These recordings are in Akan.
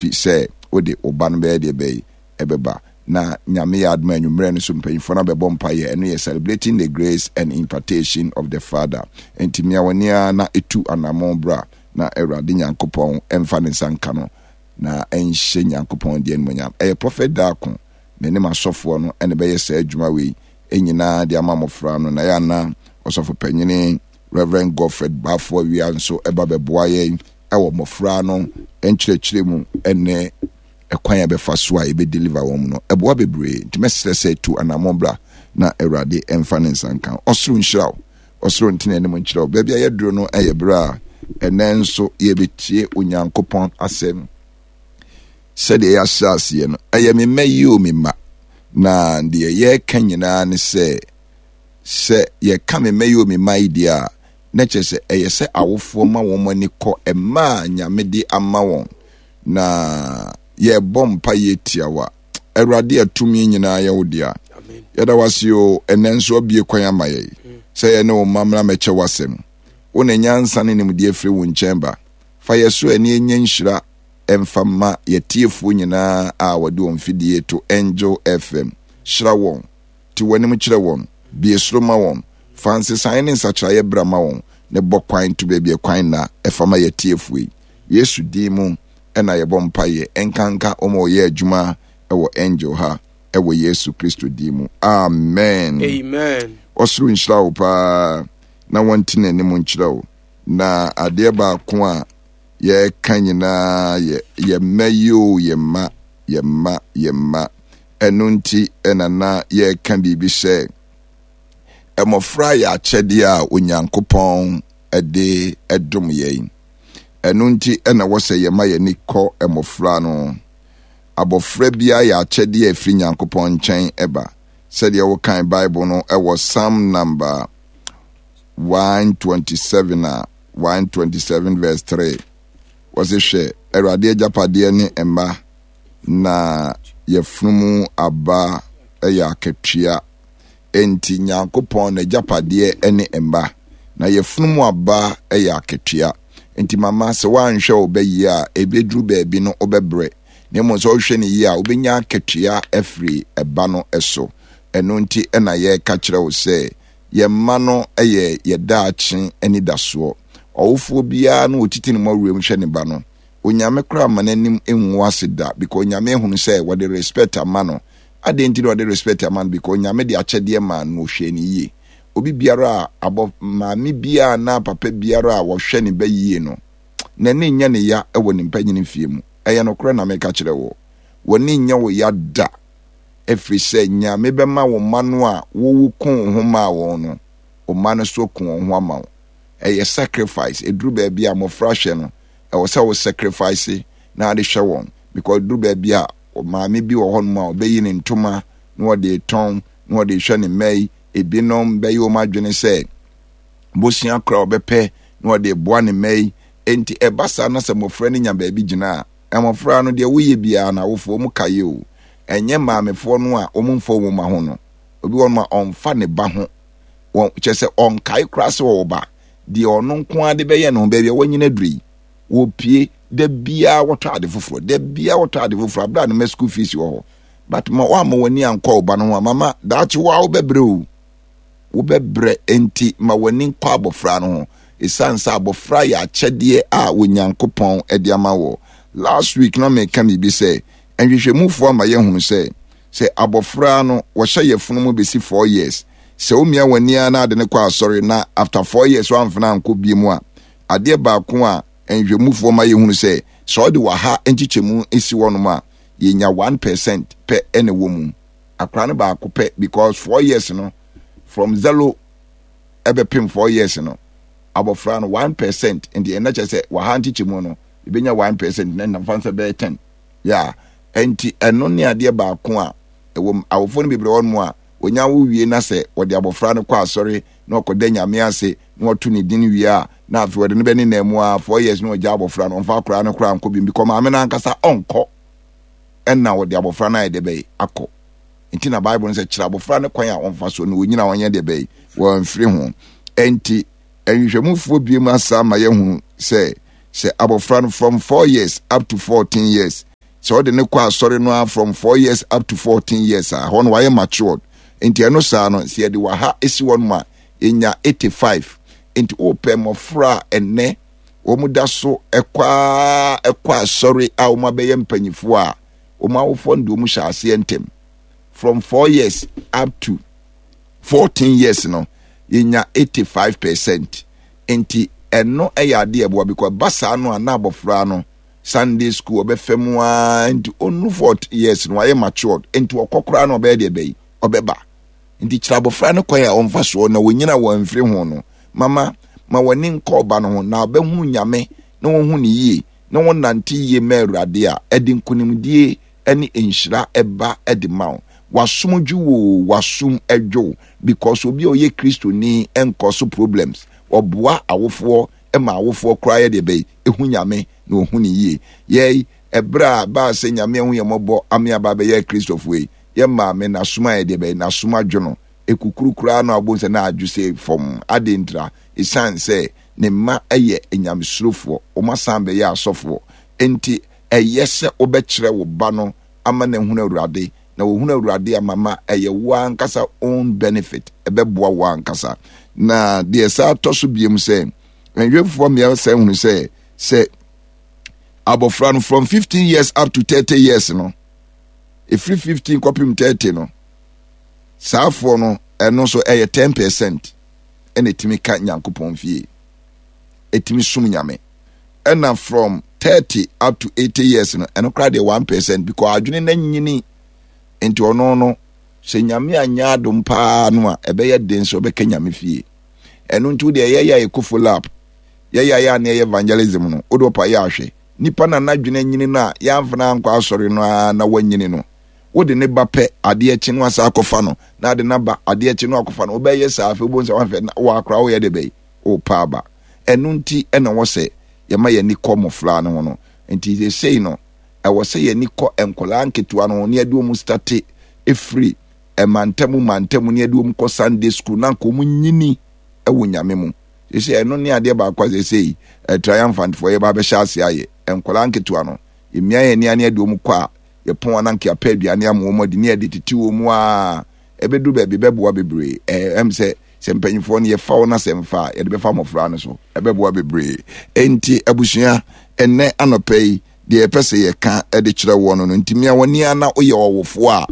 Fi sɛ wode wo ba no bɛyɛ deɛ bɛyi ɛbɛba. Na Nyame yɛ adom a anwummerɛ no so mpanyinfoɔ no abɛbɔ mpaeɛ. Ɛno yɛ Celebrating the Grace and Impartation of the Father. Enti mia w'ani ara na tu anammɔn bra na Awurade Nyankopɔn mfa ne nsa nka no na ɛnhyɛ Nyankopɔn deɛ animuonyam. Ɛyɛ Prophet Darko, me ne m'asɔfoɔ no na ɛbɛyɛ saa adwuma wei nyinaa de ama mmɔfra no. Na ɛyɛ a na Ɔsɔfo Panyini Rev. Godfred Baffour Awia nso ba bɛboa yɛn wɔ mmɔfra no nkyerɛkyerɛ mu ne ɛkwan a ɛbɛfa so a yɛbɛ deliver wɔn mu no, ɛboa bebree. Nti mɛsrɛ sɛ tu anammɔn bra na Awurade mfa ne nsa nka wo. Ɔsoro nhyira wo. Ɔsoro ntene anim nkyerɛ wo. Baabi a yɛaduru no yɛ berɛ a ɛnɛ nso yɛbɛtie Onyankopɔn asɛm sɛdeɛ yɛahyɛ aseɛ no. Ɛyɛ me mma yi o me mma. Na deɛ yɛreka nyinaa ne sɛ, sɛ yɛka me mma yi o me mma yi deɛ a, na kyerɛ sɛ ɛyɛ sɛ awofoɔ ma wɔn ani kɔ mma a Nyame de ama wɔn, na yɛbɔ mpaeɛ tiawa. Awurade a tumi nyinaa yɛ wo dea, yɛda wo ase o, ɛnɛ nso abue kwan ama yɛn sɛ yɛne wo mma mmra mmɛkyɛ w'asɛm. Wo na nyansa ne nimdeɛ firi wo nkyɛn ba. Fa yɛ so ɛne ɛnyɛ nhyira ɛmfa mma yɛtiefoɔ nyinaa a wɔde wɔn mfidie to Angel FM. Hyira wɔn. Te w'anim kyerɛ wɔn, bue soro ma wɔn, fa nsesaeɛ ne nsakyeraeɛ bra ma wɔn, ne bɔ kwan to baabi a kwan nna, ɛfa ma y'atiefoɔ yi. Yesu din mu na yɛbɔ mpaeɛ, ɛnkanka wɔn a wɔyɛ adwuma wɔ Angel ha, ɛwɔ Yesu Kristo din mu. Amen. Amen. Ɔsoro nhyira wo paa na wɔnte n'anim nkyerɛ wo. Na adeɛ baako a yɛreka nyinaa yɛ yɛ mma yi o, yɛ mma, yɛ mma, yɛ mma. Ɛno nti na na yɛreka biribi sɛ mmɔfra yɛ akyɛdeɛ a Onyankopɔn de dom yɛn. Ɛno nti na ɛwɔ sɛ yɛma yɛn ani kɔ mmɔfra no. Abɔfra biara yɛ akyɛdeɛ a ɛfiri Nyankopɔn nkyɛn ba. Sɛdeɛ wokan Bible no wɔ Psalm number 127 a, 127 verse 3, wɔse hwɛ, Awurade agyapadeɛ ne mma, na yafunu mu aba yɛ akatua. Enti Nyankopɔn n'agyapadeɛ ne mma, na yafunu mu aba yɛ akatua. Enti mama, sɛ woanhwɛ wo ba yie a, ɛbɛduru baabi no wobɛbrɛ. Na mmom sɛ wohwɛ no yie a, wobɛnya akatua afiri ɛba no so. Ɛno nti na yɛreka kyerɛ wo sɛ, yɛn mma no yɛ yɛn daakye anidasoɔ. Ɔwofoɔ biara no ɔtiti ne mmɔwerɛm hwɛ ne ba no, Onyame koraa mma n'anim ngu ase da because Onyame ahunu sɛ wɔde respect ama no. Adɛn nti na wɔde respect ama no? Because Onyame de akyɛdeɛ maa no na ɔhwɛɛ no yie. Obi biara a abɔ maame biara anaa papa biara a wɔhwɛ ne ba yie no, n'ani nyɛ ne ya wɔ ne mpanyini mfie mu. Ɛyɛ nokorɛ na meka kyerɛ wo. W'ani nyɛ wo ya da ɛfiri sɛ Nyame bɛma wo mma no a wo wo ko wo ho maa wɔn no, wo mma no nso aku wɔn ho ama wo. Ɛyɛ sacrifice. Ɛduru baabi a mmɔfra hwɛ no, ɛwɔ sɛ wo sacrifice na ade hwɛ wɔn because duru baabi a maame bi wɔ hɔnom a ɔbɛyi ne ntoma na ɔde retɔn na ɔde rehwɛ ne mma yi. Ebinom bɛyɛ wɔn adwene sɛ bosea koraa ɔbɛpɛ na ɔde reboa ne mma yi. Enti ɛba saa na sɛ mmɔfra no nya baabi gyina a, mmɔfra no deɛ woyɛ biara no awofoɔ wɔn kae o. Ɛnyɛ maamefoɔ no a wɔn mfa wɔn mma ho no. Obi wɔ hɔnom a ɔmfa ne ba ho. Wɔn kyerɛ sɛ ɔnkae koraa sɛ ɔwɔ ba. Deɛ ɔno nko ara de bɛyɛ ne ho baabi a wanyini aduru yi, wɔpie da biara wɔtɔ ade foforɔ, da biara wɔtɔ ade foforɔ abere a no ma school fees wɔ hɔ. But ma woamma w'ani ankɔ wo ba no ho a, mama daakye wo a wobɛbrɛ o. Wobɛbrɛ nti ma w'ani nkɔ abɔfra no ho. Ɛsiane sɛ abɔfra yɛ akyɛdeɛ a Onyankopɔn de ama wɔ. Last week na meka biribi sɛ nhwehwɛmufoɔ ama yɛahunu sɛ sɛ abɔfra no wɔhyɛ yafunu mu bɛsi 4 years, sɛ womia w'ani ara na ade no kɔ asɔre na after 4 years woamfena ankɔ bie mu a, adeɛ baako a nhwehwɛmufoɔ ma yɛhunu sɛ sɛ ɔde waha nkyekyɛmu si hɔnom a, yɛnya 1% pɛ na ɛwɔ mu. Akora no baako pɛ because 4 years no, from 0 ɛbɛpem 4 years no, abɔfra no 1%, nti ɛnna kyerɛ sɛ waha nkyekyɛmu no yɛbɛnya 1% na nfa nsa bɛyɛ 10. Yeah, ɛnti ɛno ne adeɛ baako a ɛwɔ mu. Awofoɔ no bebree wɔ hɔnom a, wɔnya wo wie na sɛ wɔde abɔfra no kɔ asɔre na ɔkɔda Nyame ase na wɔto ne din wie a, na afei wɔde no bɛnenam mu ara 4 years na wɔgya abɔfra no, ɔmfa akwadaa no koraa nkɔ bio because maame no ankasa ɔnkɔ ɛna wɔde abɔfra no ayɛ deɛ bɛyɛ akɔ. Nti na Bible no sɛ kyerɛ abɔfra no kwan a ɔmfa so na ɔnyina ɔnyɛ deɛ bɛyɛ wɔmfiri ho. Ɛnti nhwehwɛmufoɔ bie mu asa ama yɛahunu sɛ. Sɛ abɔfra no from 4 years up to 14 years, sɛ ɔde ne kɔ asɔre no a, from 4 years up to 14 years a, hɔ no wayɛ matured. Nti ɛno saa no, sɛ yɛde waha esi hɔ nom a, yɛnya 85. Nti wopɛ mmɔfra a ɛnɛ wɔn da so ɛkɔ a ɛkɔ asɔre a wɔn abɛyɛ mpanyinfoɔ a, wɔn awofoɔ no de wɔn hyɛ aseɛ ntɛm from 4 years up to 14 years no, yɛnya 85%. Nti ɛno ɛyɛ adeɛ ɛboa, because ɛba saa no a, na abɔfra no Sunday school ɔbɛfɛ mu aa, nti ɔnu 14 years no, wayɛ matured. Nti ɔkɔ koraa no, ɔbɛyɛ deɛ bɛyi ɔbɛba. Nti kyerɛ abɔfra no kwan a ɔmfa soɔ na wɔnyina wɔn mfiri ho no. Mama ma w'ani nkɔ ɔba no ho na ɔbɛhunu Nyame na wɔhu ne yie na wɔnante yie ma Awurade a, ɛde nkonimdie ne nhyira ɛba de ma wo. Wasom dwo wo, wasom dwo, because obi a ɔyɛ Kristoni nkɔ so problems. Ɔboa awofoɔ ma awofoɔ koraa yɛ deɛ bɛyi ehu Nyame na ɔhu ne yie. Yɛi ɛberɛ a baa sɛ Nyame ahu yɛ mmɔbɔ ame aba abɛyɛ Kristofoɔ yi, yɛ maame n'asom ayɛ deɛ bɛyi n'asom adwo no. Ekukuru koraa no abɔ sɛ na adwo sɛ fam ade ntira, ɛsiane sɛ ne mma yɛ nyamesurofoɔ, wɔn asan bɛyɛ asɔfoɔ. Nti ɛyɛ sɛ wobɛkyerɛ wo ba no ama no ahunu Awurade, na wɔhunu Awurade a, mama ɛyɛ wo ankasa own benefit, ɛbɛboa wo ankasa. Na deɛ saa tɔ so biem sɛ nhwɛfoɔ mmea sɛ hunu sɛ abɔfra no from 15 years up to 30 years no, ɛfiri 15 kɔpem 30 no, saafoɔ no, ɛno nso ɛyɛ 10% ɛna ɛtumi ka Nyankopɔn fie, ɛtumi som Nyame. Ɛna from 30 up to 80 years no, ɛno koraa deɛ 1%, because adwene no anyini. Nti ɔno no, sɛ Nyame anyɛ adom paa no a, ɛbɛyɛ den sɛ ɔbɛka Nyame fie. Ɛno nti wodeɛ yɛyɛ a yɛkɔ follow up, yɛyɛ a yɛ a na yɛyɛ evangelism no, wode ɔpa yɛ ahwɛ nipa na n'adwene anyini no a, yɛamfa no ankɔ asɔre no ara na wanyini no, wode ne ba pɛ, adeɛ kye no asa akɔfa no, na ade n'aba, adeɛ kye no akɔfa no. Wobɛyɛ saa, afei wobɛhu sɛ wahwɛ na wakora woyɛ de bɛyi wopa aba. Ɛno nti ɛna wɔ sɛ yɛma yɛn ani kɔ mmɔfra no ho no. Nti seesei no, ɛwɔ sɛ yɛn ani kɔ nkwadaa nketewa no ho na yɛde wɔn starte efiri mantamu mantamu na yɛde wɔn kɔ Sunday school na nka wɔn nyini ɛwɔ Nyame mu. Seesei ɛno ne adeɛ baako a seesei triumphantfoɔ yɛba abɛhyɛ ase ayɛ. Nkwadaa nketewa no, yɛmia yɛn ani ne yɛde wɔn kɔ a, yɛpɔn a na nka yɛapɛ aduane ama wɔn adi ne yɛde tete wɔn mu a, ɛbɛduru baabi bɛboa bebree. Ɛm sɛ mpanyinfoɔ no yɛfa wɔn asɛm fa a, yɛde bɛfa mmɔfra no so, ɛbɛboa bebree. Enti abusua, ɛnnɛ anɔpa yi, deɛ yɛpɛ sɛ yɛka de kyerɛ wɔn no, nti mia w'ani a na woyɛ ɔwofoɔ a,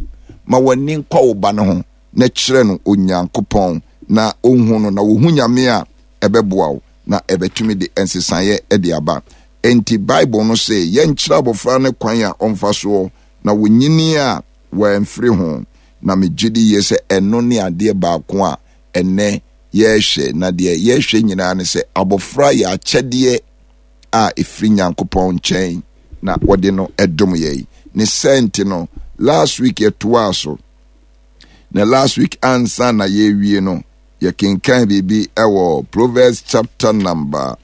ma w'ani nkɔ wo ba no ho na kyerɛ no Onyankopɔn na ɔnhu no, na wɔhu Nyame a, ɛbɛboa wo na ɛbɛtumi de nsesaeɛ de aba. Enti Bible no se yɛnkyerɛ abɔfra no kwan a ɔmfa soɔ na wɔnyini a wɔamfiri ho. Na megye di yie sɛ ɛno ne adeɛ baako a ɛnnɛ yɛrehwɛ. Na deɛ yɛrehwɛ nyinaa ne sɛ abɔfra yɛ akyɛdeɛ a ɛfiri Nyankopɔn nkyɛn na wɔde no dom yɛn. Ne sɛ nti no, last week yɛtoaa so. Na last week ansa na yɛrewie no, yɛkenkan biribi wɔ Proverbs chapter number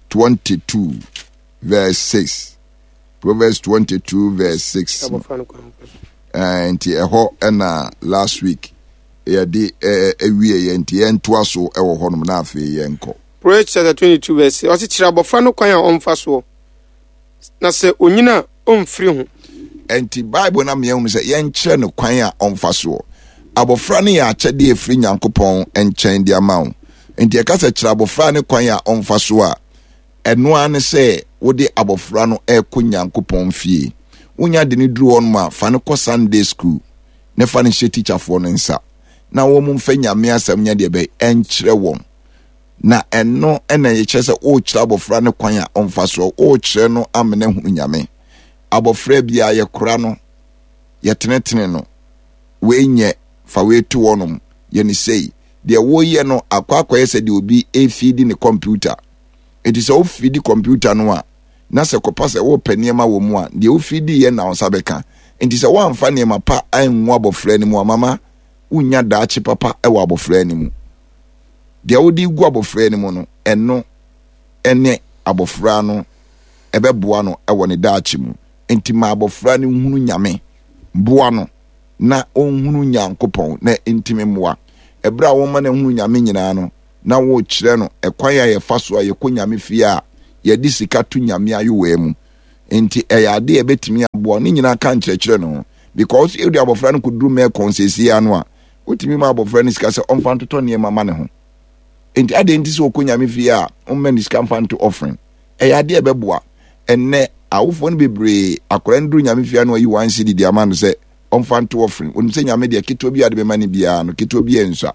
22 verse 6. Proverbs 22 verse 6. Nti ɛhɔ ɛna last week yɛde ɛwie yɛ, nti yɛntoa so ɛwɔ hɔnom na afei yɛnkɔ. Proverbs chapter 22 verse 6. Ɔse kyerɛ abɔfra no kwan a ɔmfa soɔ, na sɛ onyina a, ɔmfiri ho. Nti Bible na mmea hunu sɛ yɛnkyerɛ no kwan a ɔmfa soɔ. Abɔfra no yɛ akyɛdeɛ ɛfiri Nyankopɔn nkyɛn de ama wo. Nti ɛka sɛ kyerɛ abɔfra no kwan a ɔmfa so a, ɛno ara ne sɛ wode abɔfra no ɛrekɔ Nyankopɔn fie. Wonya de no duru hɔ nom a, fa no kɔ Sunday school na fa no hyɛ tikyafoɔ no nsa na wɔn mfa Nyame asɛm nyɛ deɛ bɛyɛ ɛnkyerɛ wɔn. Na ɛno ɛna yɛkyerɛ sɛ worekyerɛ abɔfra no kwan a ɔmfa soɔ, worekyerɛ no amena hunu Nyame. Abɔfra biara yɛkora no, yɛtenetene no, wei nyɛ, fa wei to hɔnom, yɛ ne sei. Deɛ woyɛ no akɔ akɔyɛ sɛ deɛ obi efidi ne kɔmputa. Enti sɛ wofidi kɔmputa no a, na sɛ kɔpa sɛ wopɛ nneɛma wɔ mu a, deɛ wofidi yɛ na wo nsa bɛka. Enti sɛ woamfa nneɛma pa angu abɔfra no mu a, mama wonnya daakye papa wɔ abɔfra no mu. Deɛ wode gu abɔfra no mu no, ɛno ne abɔfra no ɛbɛboa no wɔ ne daakye mu. Enti ma abɔfra no nhunu Nyame, boa no na ɔnhunu Nyankopɔn na ntumi mmoa. Ɛberɛ a wɔma no ahunu Nyame nyinaa no, na wokyerɛ no ɛkwan a yɛfa so a yɛkɔ Nyame fie a. yɛde sika to Nyame ayowaa mu. Nti ɛyɛ ade a ɛbɛtumi aboa ne nyinaa ka nkyerɛkyerɛ no ho. Because wode abɔfra no kɔduru mɛkɔn seesei ano a, wotumi ma abɔfra no sika sɛ ɔmfa ntotɔ nneɛma ma ne ho. Nti adɛn nti sɛ ɔkɔ Nyame fie a, womma ne sika mfa nto offering? Ɛyɛ ade a ɛbɛboa. Ɛnnɛ, awofoɔ no bebree, akwadaa no duru Nyame fie a na wayi one cedi de ama no sɛ ɔmfa nto offering. Onim sɛ Nyame deɛ ketewa bi a ɔde bɛma no biara no, ketewa bi nsua.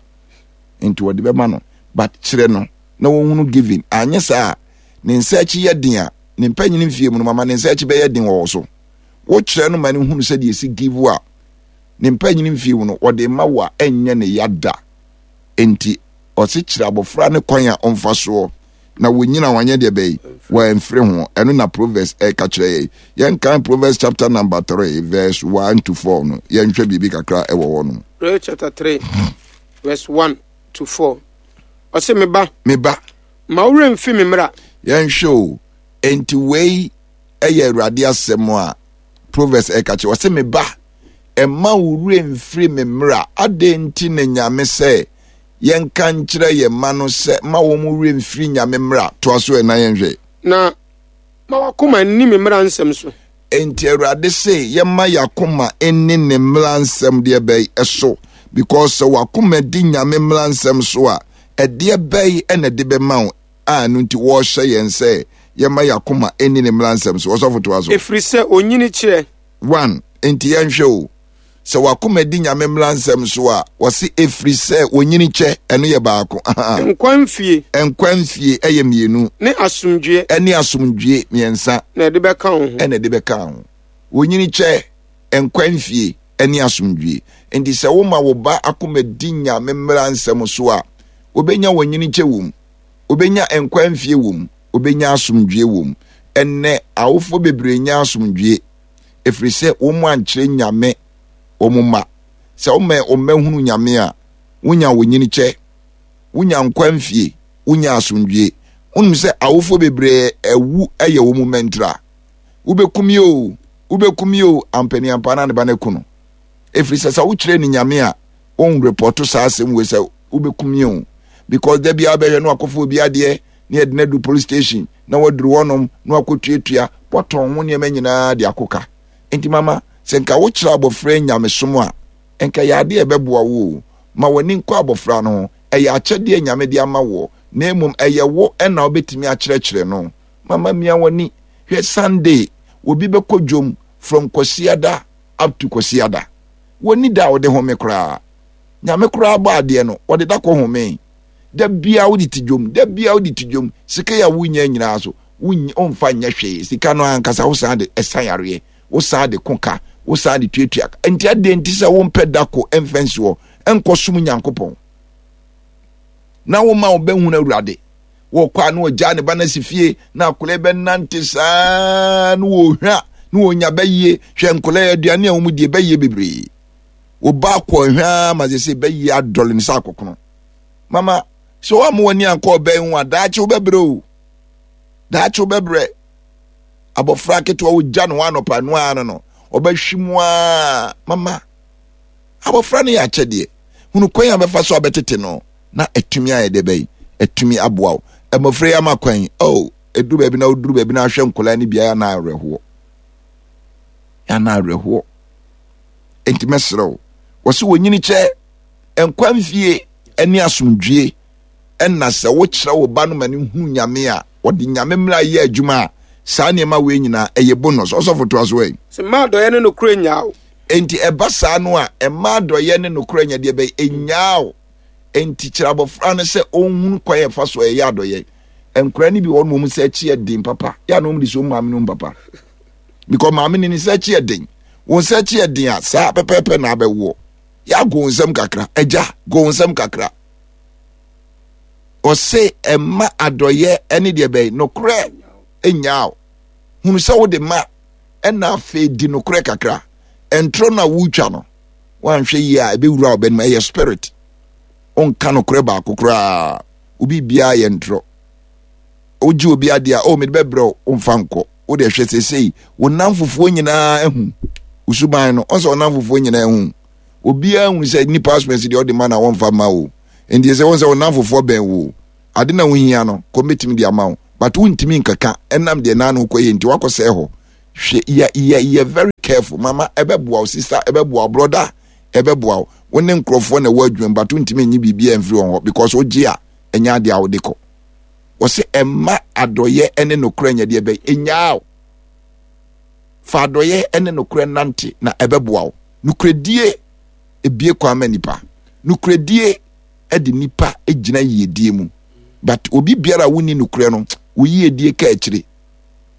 Nti ɔde bɛma no. But kyerɛ no na wɔhunu giving. Anyɛ saa a, ne nsa akyi yɛ den a, ne mpanyin mfie mu no, mama ne nsa akyi bɛyɛ den wɔ wo so. Wokyerɛ no ma no hunu sɛdeɛ ɛsi give a, ne mpanyin mfie mu no, ɔde ma wo a, ɛnyɛ ne ya da. Enti ɔse kyerɛ abɔfra ne kwan a ɔmfa soɔ na wɔnyina wanyɛ deɛ bɛyi wɔamfiri ho. Ɛno na Proverbs ɛka kyerɛ yɛn. Yɛnkan Proverbs chapter number 3 verse 1 to 4 no, yɛnhwɛ biribi kakra ɛwɔ hɔ no. Proverbs chapter 3 verse 1 to 4. Ɔse me ba. Me ba. Ma wo werɛ mfi me mmara. Yɛnhwɛ o. Enti wei ɛyɛ Awurade asɛm a Proverbs ɛka kyerɛ. Ɔse me ba, mma wo werɛ mfiri me mmara. Adɛn nti na Nyame sɛ yɛnka nkyerɛ yɛn mma no sɛ mma wɔn werɛ mfiri Nyame mmara? Toa so ɛ na yɛnhwɛ. Na ma w'akoma nni me mmara nsɛm so. Enti Awurade se yɛmma y'akoma nni ne mmara nsɛm deɛ bɛn so? Because sɛ w'akoma di Nyame mmara nsɛm so a, ɛdeɛ bɛn na ɛde bɛma wo a ɛno nti wɔrehyɛ yɛn sɛ yɛmma y'akoma nni ne mmara nsɛm so? Ɔsɔfo toa so. Ɛfiri sɛ onyini kyerɛ. 1, Enti yɛnhwɛ o, sɛ w'akoma di Nyame mmara nsɛm so a, wɔse ɛfiri sɛ onyini kyɛ, ɛno yɛ baako, ahaa. Nkwa mfie. Nkwa mfie, ɛyɛ mmienu. Ne asomdwoeɛ. Ɛne asomdwoeɛ, mmiɛnsa. Na ɛde bɛka wo ho. Ɛna ɛde bɛka wo ho. Onyini kyɛ, nkwa mfie, ɛne asomdwoeɛ. Enti sɛ woma wo ba akoma di Nyame mmara nsɛm so a, obɛnya onyini kyɛ wom, obɛnya nkwa mfie wom, obɛnya asomdwoeɛ wom. Ɛnnɛ, awofoɔ bebree nnya asomdwoeɛ, ɛfiri sɛ wɔn ankyerɛ Nyame wɔn mma. Sɛ woma wɔn mma hunu Nyame a, wonya onyinikyɛ, wonya nkwa mfie, wonya asomdwoeɛ. Wonim sɛ awofoɔ bebree awu yɛ wɔn mma ntira. Wobɛku me o, wobɛku me o, ampaniampa na ne ba no aku no. Ɛfiri sɛ sɛ wokyerɛ ne Nyame a, wɔnrepɔto saa asɛm wei sɛ wobɛku me o. Because da biara bɛhwɛ no akɔfa obi adeɛ na yɛde no adu police station na waduru hɔnom na wakɔtuatua wɔtɔn ho nneɛma nyinaa de akɔka. Nti mama sɛ nka wokyerɛ abɔfra nyamesom a, nka yɛ adeɛ a ɛbɛboa wo o. Ma w'ani nkɔ abɔfra no ho. Ɛyɛ akyɛdeɛ a Nyame de ama woɔ, na mmom ɛyɛ wo na wobɛtumi akyerɛkyerɛ no. Mama mia w'ani. Hwɛ Sunday, obi bɛkɔ dwom from Kwasiada up to Kwasiada. Wɔnni da a wɔde home koraa. Nyame koraa bɔ adeɛ no, wɔde da kɔ homee. Da biara wode te dwom, da biara wode te dwom. Sika yi a wonya nyinaa so, womfa nyɛ hwee. Sika no ankasa wosan de ɛsa yareɛ, wosan de ko ka, wosan de tuatua ka. Nti adeɛ nti sɛ wompɛ da ko mfa nsi hɔ nkɔsom Nyankopɔn na woma wo bɛhunu Awurade. Wɔkɔ a na wɔgyaa ne ba no asi fie na akwadaa bɛnante saa na wɔhwa na wɔnya bɛyie. Hwɛ nkwadaa aduane a wɔn die bɛyie bebree. Wo ba akɔ hwa ma sɛ sɛ bɛyie adɔle ne sɛ akɔkono. Mama sɛ wɔamma w'ani ankɔ ɔbɛn ho a daakye wobɛbrɛ o. Daakye wobɛbrɛ. Abɔfra ketewa wogya ne ho anɔpa no ara no no ɔbɛhwe mu a mama abɔfra no yɛ akyɛdeɛ. Hunu kwan a bɛfa so abɛtete no na atumi ayɛ dɛ bɛyi atumi aboa wo. Mmɔfra yi ama kwan oh ɛduru baabi na woduru baabi na ahwɛ nkwadaa no biara na awerɛhoɔ. Ana awerɛhoɔ. Enti mɛsrɛ wo. Wɔse wɔnyini kyɛ nkwa mfie ne asomdwie ɛna sɛ wokyerɛ wo ba no ma no hunu Nyame a, ɔde Nyame mmara yɛ adwuma a, saa nneɛma wei nyinaa ɛyɛ bonus. Ɔsɔfo toa so ɛ. Sɛ mma adɔeɛ ne nokorɛ nnyaa wo. Enti ɛba saa no a, mma adɔeɛ ne nokorɛ nyɛ deɛ bɛyɛ ɛnnyaa wo. Enti kyerɛ abɔfra no sɛ ɔnhunu kwan a ɛfa so ɛyɛ adɔeɛ. Nkwadaa no bi wɔ hɔ nom wɔn nsa akyi yɛ den papa. Yɛ a na wɔn de so maame no papa. Because maame no ne nsa akyi yɛ den. Wɔn nsa akyi yɛ den a saa pɛpɛɛpɛ na abɛwoɔ. Yɛ ago nsɛm kakra. Agya, go nsɛm kakra. Ɔse ɛma adɔyɛ ɛne deɛ bɛyi nokorɛ nnyaa wo. Hunu sɛ wode ma ɛna afei di nokorɛ kakra. Ɛntorɔ no a wotwa no, woanhwɛ yie a ɛbɛwura wo bɛnom. Ɛyɛ spirit. Wonka nokorɛ baako koraa. Obi biara yɛ ntorɔ. Wogye obi adeɛ a, oh mede bɛbrɛ wo, womfa nkɔ. Wode hwɛ seesei, wo nnamfofoɔ nyinaa ahu wo suban no. Ɔsɛ wo nnamfofoɔ nyinaa ahu. Obiara hu sɛ nipa asomasi deɛ ɔde ma na wɔmfa ma wo. Nti sɛ wɔn sɛ wo nnamfofoɔ bɛn wo. Ade na wohia no, kɔ mɛtumi de ama wo. But wontumi nkeka ɛnam deɛ naa no wokɔyɛ nti wakɔsɛe hɔ. Hwɛ yɛ yɛ yɛ very careful mama ɛbɛboa wo sister ɛbɛboa wo brother ɛbɛboa wo. Wo ne nkurɔfoɔ na ɛwɔ adwuma mu but wontumi nyi biribiara mfiri wɔn hɔ because wogye a ɛnyɛ adeɛ a wode kɔ. Wɔse ɛmma adɔyɛ ne nokorɛ nyɛ deɛ bɛn ɛnyaa wo. Fa adɔyɛ ne nokorɛ nante na ɛbɛboa wo. Nokorɛdie ebie kwan ma nipa. Nokorɛdie de nipa gyina yiedie mu. But obi biara a wonni nokorɛ no, wo yiedie ka akyire.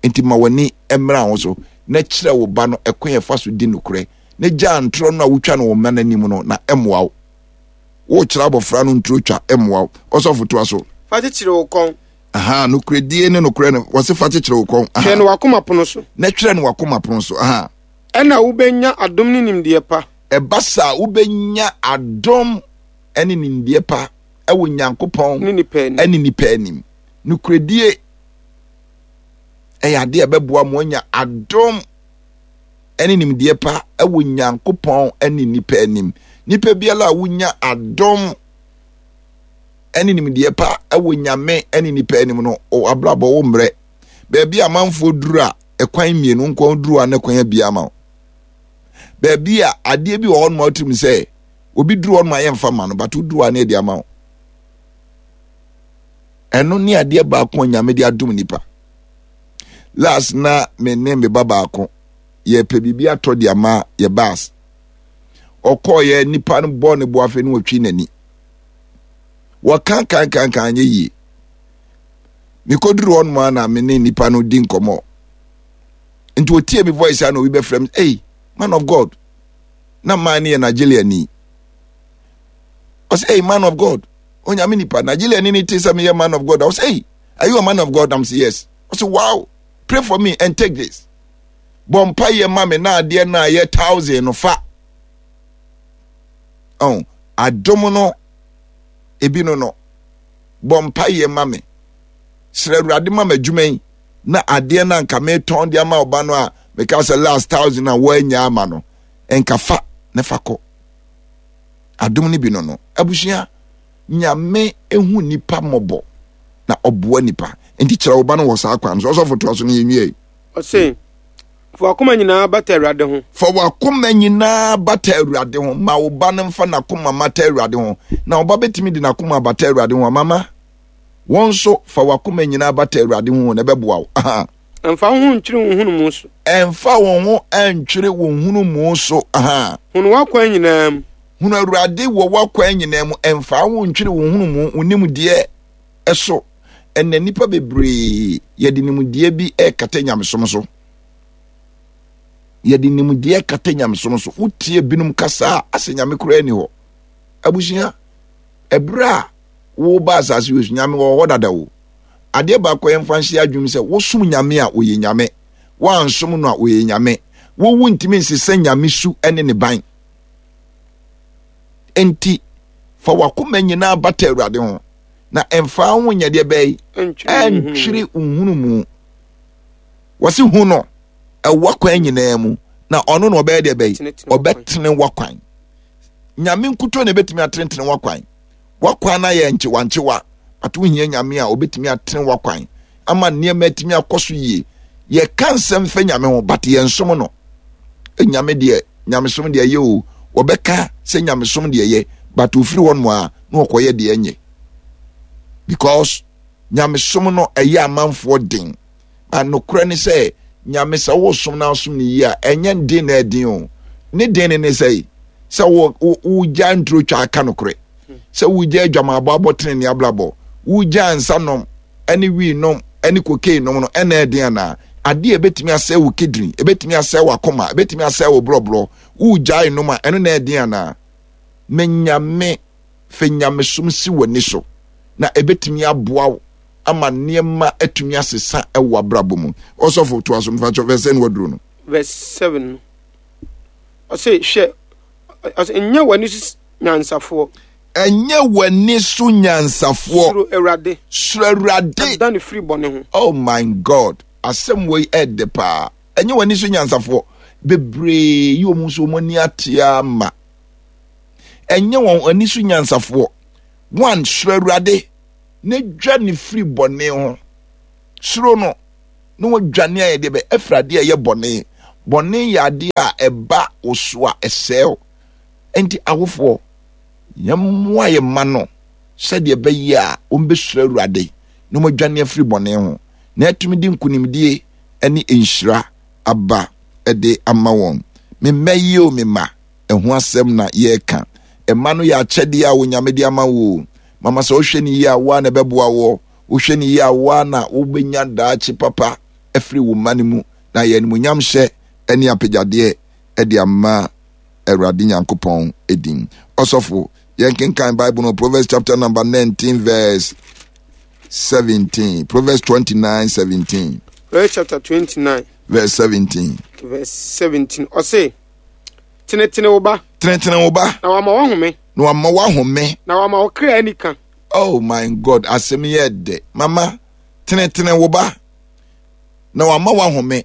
Nti ma w'ani mmra ho so na kyerɛ wo ba no ɛkwan a ɛfa so di nokorɛ na gyaa ntorɔ no a wotwa no wo mma no anim no na ɛmmoa wo. Wokyerɛ abɔfra no nturo twa ɛmmoa wo. Ɔsɔfo toa so. Fa kyekyere wo kɔn. Aha, nokorɛdie ne nokorɛ no, wɔse fa kyekyere wo kɔn. Twerɛ no w'akoma pono so. Na twerɛ no w'akoma pono so. Aha. Ɛna wobɛnya adom ne nimdeɛ pa. Ɛba saa wobɛnya adom ne nimdeɛ pa wɔ Nyankopɔn ne nipa anim. Nokorɛdie ɛyɛ adeɛ a ɛbɛboa mo anya adom ne nimdeɛ pa wɔ Nyankopɔn ne nipa anim. Nipa biara a wonya adom ne nimdeɛ pa wɔ Nyame ne nipa anim no, abrabɔ wo mmerɛ. Baabi a amanfoɔ duru a ɛkwan mmienu nko duru a na kwan abia ama wo. Baabi a adeɛ bi wɔ hɔ nom a wotirim sɛ obi duru hɔ nom a yɛmfa ma no, but woduru a na ɛde ama wo. Ɛno ne adeɛ baako a Nyame de adom nipa. Last na me ne me ba baako yɛpɛ biribi atɔ de ama yɛ baas. Ɔkɔɔyɛ nipa no bɔɔ ne bo afei ne wɔtwi n'ani. Wɔka kan kan kan nyɛ yie. Mekɔduru hɔ nom a na me ne nipa no di nkɔmmɔ. Nti ɔtie me voice a na obi bɛfrɛ me, hey, man of God. Na man no yɛ Nigeria ni. Ɔsɛ, hey, man of God. Onyame nipa. Nigeria ni ne te sɛ meyɛ man of God. Ɔsɛ, hey, are you a man of God? I'm say yes. Ɔsɛ, wow, pray for me and take this. Bɔ mpaeɛ ma me na adeɛ no a ɛyɛ thousand no fa. Oh, adom no ebi no no. Bɔ mpaeɛ ma me. Srɛ Awurade ma m'adwuma yi na adeɛ no anka metɔn de ama ɔba no a meka sɛ last thousand a wɔanya ama no nka fa na fa kɔ. Adom no bi no no. Abusua, Nyame ehu nipa mmɔbɔ na ɔboa nipa. Nti kyerɛ wo ba no wɔ saa kwan so. Ɔsɔfo toa so no yɛnwie. Ɔse, fa w'akoma nyinaa bata Awurade ho. Fa w'akoma nyinaa bata Awurade ho. Ma wo ba no mfa n'akoma mmata Awurade ho. Na wo ba bɛtumi de n'akoma abata Awurade ho. Mama, wɔn nso fa w'akoma nyinaa bata Awurade ho na ɛbɛboa wo. Aha. Ɛmfa wo ho ntwere wo nhunumu so. Ɛmfa wo ho ntwere wo nhunumu so. Aha. Hunu w'akwan nyinaa mu. Hunu Awurade wɔ w'akwan nyinaa mu. Ɛmfa wo ho ntwere wo nhunumu, wo nimdeɛ so. Ɛnna nnipa bebree yɛde nimdeɛ bi rekata nyamesom so. Yɛde nimdeɛ kata nyamesom so. Wotie binom kasa a, asɛ nyame koraa ni hɔ. Abusua, ɛberɛ a woba asase wei so, nyame wɔ hɔ dada o. Adeɛ baako a yɛmfa nhyɛ adwene sɛ wosom nyame a ɔyɛ nyame, woansom no a ɔyɛ nyame. Wowu ntumi nsesa nyame su ne ne ban. Enti fa wakoma nyinaa bata Awurade ho. Na ɛmfa ho nyɛ deɛ bɛyi ɛntwere nhunumu. Wɔsi hu no ɛwɔ kwan nyinaa mu na ɔno na ɔbɛyɛ deɛ bɛyi ɔbɛtene wakwan. Nyame nkuto na ebetumi atenetene wakwan. Wakwan na yɛ nkyewankyewa ato hia nyame a obetumi atene wakwan ama nneɛma atumi akɔ so yie. Yɛka nsɛm fɛ nyame ho but yɛnsom no. Nyame deɛ nyamesom deɛ yɛ o wɔbɛka sɛ nyamesom deɛ yɛ but ofiri hɔ nom a na wɔkɔyɛ deɛ ɛnyɛ because nyamesom no ɛyɛ amanfoɔ den na nokorɛ ne sɛ nyame sɛ wosom na wosom no yie a ɛnyɛ den na ɛden o ne den ne ne sɛ sɛ wogya nturo twa aka nokorɛ sɛ wogya adwamaabɔ abɔ tene ne abrabɔ wogya nsa nom ɛne wii nom ɛne cocaine nom no ɛna ɛden anaa adeɛ ɛbɛtumi asɛe wo kidney ɛbɛtumi asɛe w'akoma ɛbɛtumi asɛe wo borɔborɔ wogyae nom a ɛno na ɛden anaa Me Nyame, fa nyamesom si w'ani so, na ɛbɛtumi aboa wo ama nneɛma atumi asesa wɔ w'abrabɔ mu. Ɔsɔfo, toa so, mfa verse sɛn waduro no. Verse 7 no, ɔse, hwɛ, ɔse, nyɛ w'ani so nyansafoɔ. Ɛnyɛ w'ani so nyansafoɔ. Suro Awurade. Suro Awurade. Na dane firi bɔne ho. Oh my God, asɛm wei ɛɛdɛ paa. Ɛnyɛ w'ani so nyansafoɔ. Bebree yi wɔn nso wɔn ani ate ama. Ɛnyɛ wɔn ani so nyansafoɔ. One, suro Awurade na dwa ne firi bɔne ho. Suro no na wadwane ayɛ deɛ bɛ afiri adeɛ a ɛyɛ bɔne. Bɔne yɛ adeɛ a ɛba wo so a ɛsɛe wo. Enti awofoɔ, yɛmmoa yɛn mma no sɛdeɛ ɛbɛyɛ a wɔbɛsuro Awurade na wɔadwane afiri bɔne ho na atumi de nkonimdie ne nhyira aba de ama wɔn. Me mma yi o me mma, ɛho asɛm na yɛreka. Mma no yɛ akyɛdeɛ a Onyame de ama wo o. Mama sɛ wohwɛ no yie a, wo ara na ɛbɛboa woɔ. Wohwɛ no yie a, wo ara na wobɛnya daakye papa afiri wo mma no mu na ayɛ animuonyamhyɛ ne apagyadeɛ de ama Awurade Nyankopɔn din. Ɔsɔfo, yɛnkenkan Bible no Proverbs chapter number 19 verse 17. Proverbs 29 17. Proverbs chapter 29 verse 17. Verse 17. Ɔse, tenetene wo ba. Tenetene wo ba. Na wama wahome. Na wama wahome. Na wama wo kra anika. Oh my God, asɛm yɛ dɛ. Mama, tenetene wo ba. Na wama wahome.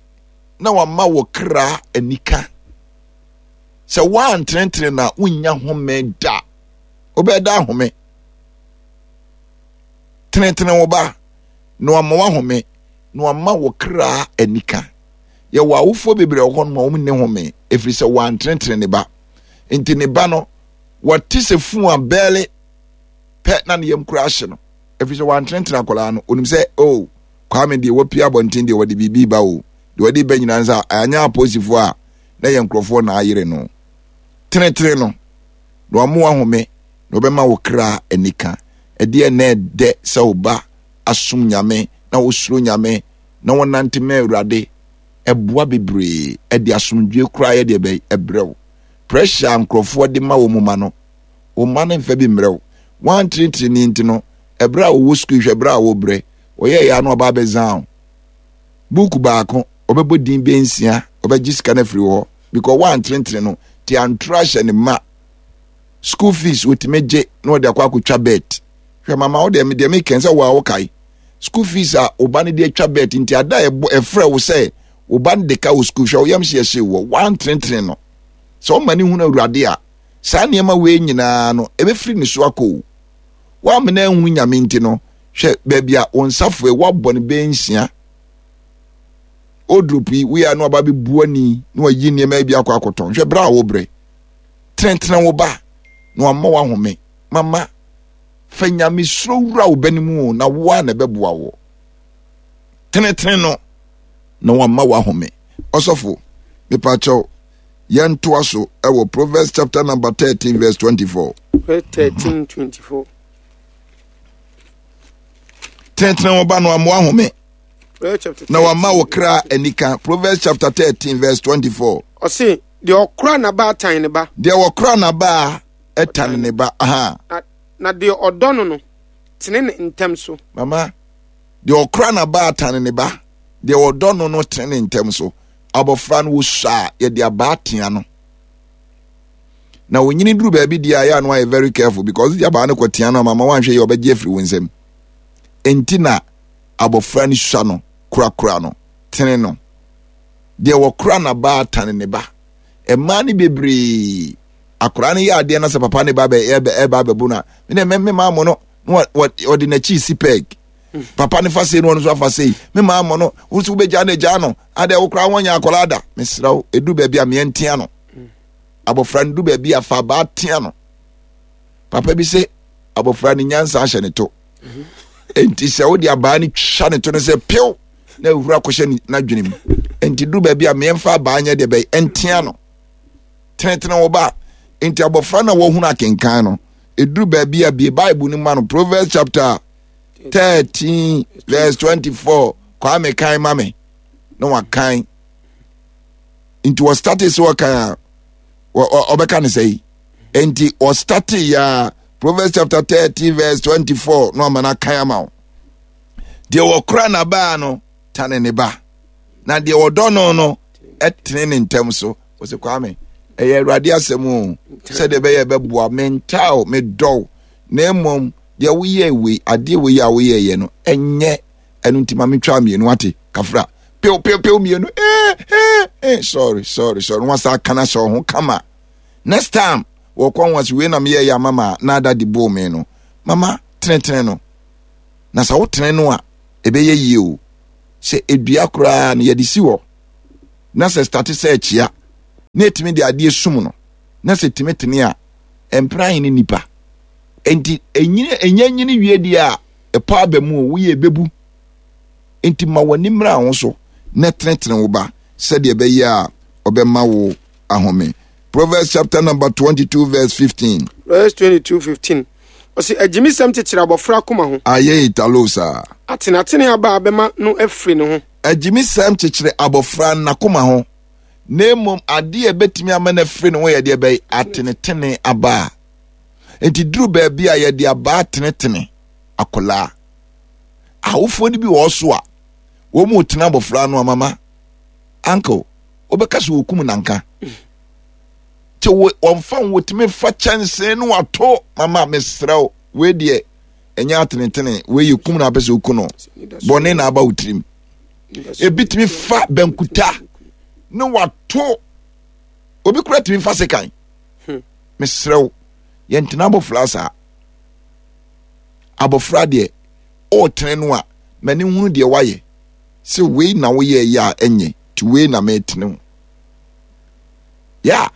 Na wama wo kra anika. Sɛ woantenetene na wonnya home da. Wobɛda ahome. Tenetene wo ba. Na wama wahome. Na wama wo kra anika. Yɛwɔ awofoɔ bebree wɔ hɔ nom a wɔn nni home ɛfiri sɛ wɔantenetene ne ba. Nti ne ba no wɔte sɛ fun a bɛɛle pɛ na ne yam kura ahye no ɛfiri sɛ wɔantenetene akwadaa no. Onim sɛ o oh, Kwame deɛ wapue abɔnten deɛ wɔde biribi ba o deɛ wɔde ba nyinaa nsa anyɛ apolisifoɔ a na yɛ nkurɔfoɔ na ayere no. Tenetene no na wama wahome na ɔbɛma wo kra anika. Ɛdeɛ na ɛdɛ sɛ wo ba asom Nyame na wosuro Nyame na wɔnante ma Awurade ɛboa bebree ɛde asomdwie koraa yɛ deɛ bɛyɛ ɛbrɛ wo. Pressure a nkurɔfoɔ de ma wɔn ma no, wɔn mma no mfa bi mmerɛ wo. Wɔantenetene ne nti no, ɛberɛ a wɔwɔ sukuu hwɛ berɛ a wɔbrɛ, wɔyɛ yɛ ano ɔba abɛzan wo. Buuku baako, ɔbɛbɔ din bɛyɛ nsia, ɔbɛgye sika no afiri hɔ because wɔantenetene no, te antoro ahyɛ ne ma. School fees wɔtumi gye na wɔde akɔ akɔtwa bet. Hwɛ mama wo deɛ deɛ mekɛn sɛ wo a wokae. School fees a wo ba no de atwa bet nti ada a ɛbɔ ɛfrɛ wo sɛ wo ba no de ka wɔ school hwɛ wo yam hye ɛhye wɔ woantenetene no. Sɛ ɔma ne hunu awurade a saa nneɛma wei nyinaa no ɛbɛfiri ne so akɔ o. Woamena anhunu nyame nti no hwɛ baabi a wo nsafoe woabɔ no bɛyɛ nsia. Wardrobe yi woyɛ no aba bɛbu ani na wayi nneɛma bi akɔ akɔtɔn hwɛ berɛ a wobrɛ. Tenetene wo ba na wama wahome. Mama fa nyamesuro wura wo ba no mu o na wo a na ɛbɛboa wo. Tenetene no na wama wahome. Ɔsɔfo, mepakyɛw, yɛntoa so ɛwɔ Proverbs chapter number 13 verse 24. Proverbs 13 24. Tenetene wo ba no ama wahome. Na wama wo kra anika. Proverbs chapter 13 verse 24. Ɔse, deɛ ɔkora n'abaa tan ne ba. Deɛ ɔkora n'abaa tan ne ba. Aha. Na deɛ ɔdɔ no no, tene ne ntɛm so. Mama, deɛ ɔkora n'abaa tan ne ba, deɛ ɔdɔ no no tene ne ntɛm so. Abɔfra no wosua a, yɛde abaa tea no. Na onyini duru baabi deɛ a, yɛ ano ayɛ very careful because de abaa no kɔ tea no a, mama wanhwɛ yɛ ɔbɛgye afiri wo nsam. Enti na abɔfra no sua no, korakora no, tene no. Deɛ wɔkora n'abaa tane ne ba. Mmaa no bebree akwaraa no yɛ adeɛ na sɛ papa ne ba bɛ ɛbɛ ɛba abɛbo no a me na me maa mo no na ɔde n'akyi si pɛg papa ne fa sei na ɔno nso afa sei me maa mo no wo nso wobɛgya no agya no adeɛ wo koraa wɔnyɛ akwaraa da mesrɛ wo ɛdu baabi a meɛntea no abɔfra no du baabi a fa abaa tea no papa bi sɛ abɔfra no nyansa ahyɛ ne to enti sɛ wode abaa no twa ne to no sɛ pew na awura akɔhyɛ n'adwene mu enti du baabi a meɛmfa abaa nyɛ deɛ bɛyɛ ɛntea no tenetene wo ba nti abɔfra na wɔhunu akenkan no ɛduru baabi a bie bible no ma no proverbs chapter 13 verse 24 kwame kan ma me na wakan nti wɔstate sɛ wɔkan a ɔbɛka ne sɛ yi nti wɔstate ya proverbs chapter 13 verse 24 na ɔma no akan ama wo deɛ wɔkora n'abaa no tane ne ba na deɛ wɔdɔ no no tene ne ntɛm so wɔsɛ kwame ɛyɛ awurade asɛm o sɛdeɛ ɛbɛyɛ ɛbɛboa mentaa o medɔw na mmom deɛ woyɛ wei adeɛ wei a woyɛyɛ no ɛnyɛ ɛno nti ma metwa mmienu ate kafra pew pew pew mmienu ee ee ee sorry sorry sorry wɔn asa aka na hyɛ ɔho kama next time wɔkɔ wɔn ase wei na meyɛ yɛ ama ma na ada de boo me no mama tenetene no na sɛ wotene no a ɛbɛyɛ yie o. Sɛ edua koraa no yɛde si hɔ na sɛ starte sɛ ɛkyea na ɛtumi de adeɛ sum no na sɛ ɛtumi tene a, ɛmpere ahe ne nipa. Enti ɛnyini ɛnya nyini wie deɛ a ɛpɔ aba mu o, woyɛ ɛbɛbu. Enti ma w'ani mmra ho so na tenetene wo ba sɛdeɛ ɛbɛyɛ a ɔbɛma wo ahome. Proverbs chapter number 22 verse 15. Proverbs 22 15. Ɔsi agyimisɛm kyekyere abɔfra akoma ho. Ayɛ italo saa. Atenatene aba a bɛma no afiri ne ho. Agyimisɛm kyekyere abɔfra n'akoma ho, na mmom adeɛ a ɛbɛtumi ama no afiri ne ho yɛ deɛ bɛyɛ atenetene aba a. Nti duru baabi a yɛde abaa tenetene akwadaa. Awofoɔ no bi wɔ hɔ so a, wɔn mu tena abɔfra no amama. Uncle, wobɛka sɛ wɔkum nanka. Nti wɔmfa wɔtumi fa kyɛnsee no wato mama mesrɛ wo wei deɛ ɛnyɛ atenetene wei yɛ kum na apɛ sɛ oku no bɔne na aba wo tirim. Ebi tumi fa bankuta ne wato obi kura tumi fa sekan. Mesrɛ wo yɛntena abɔfra saa. Abɔfra deɛ ɔretene no a m'ani hunu deɛ wayɛ sɛ wei na woyɛ yɛ a ɛnyɛ nti wei na metene wo. Ya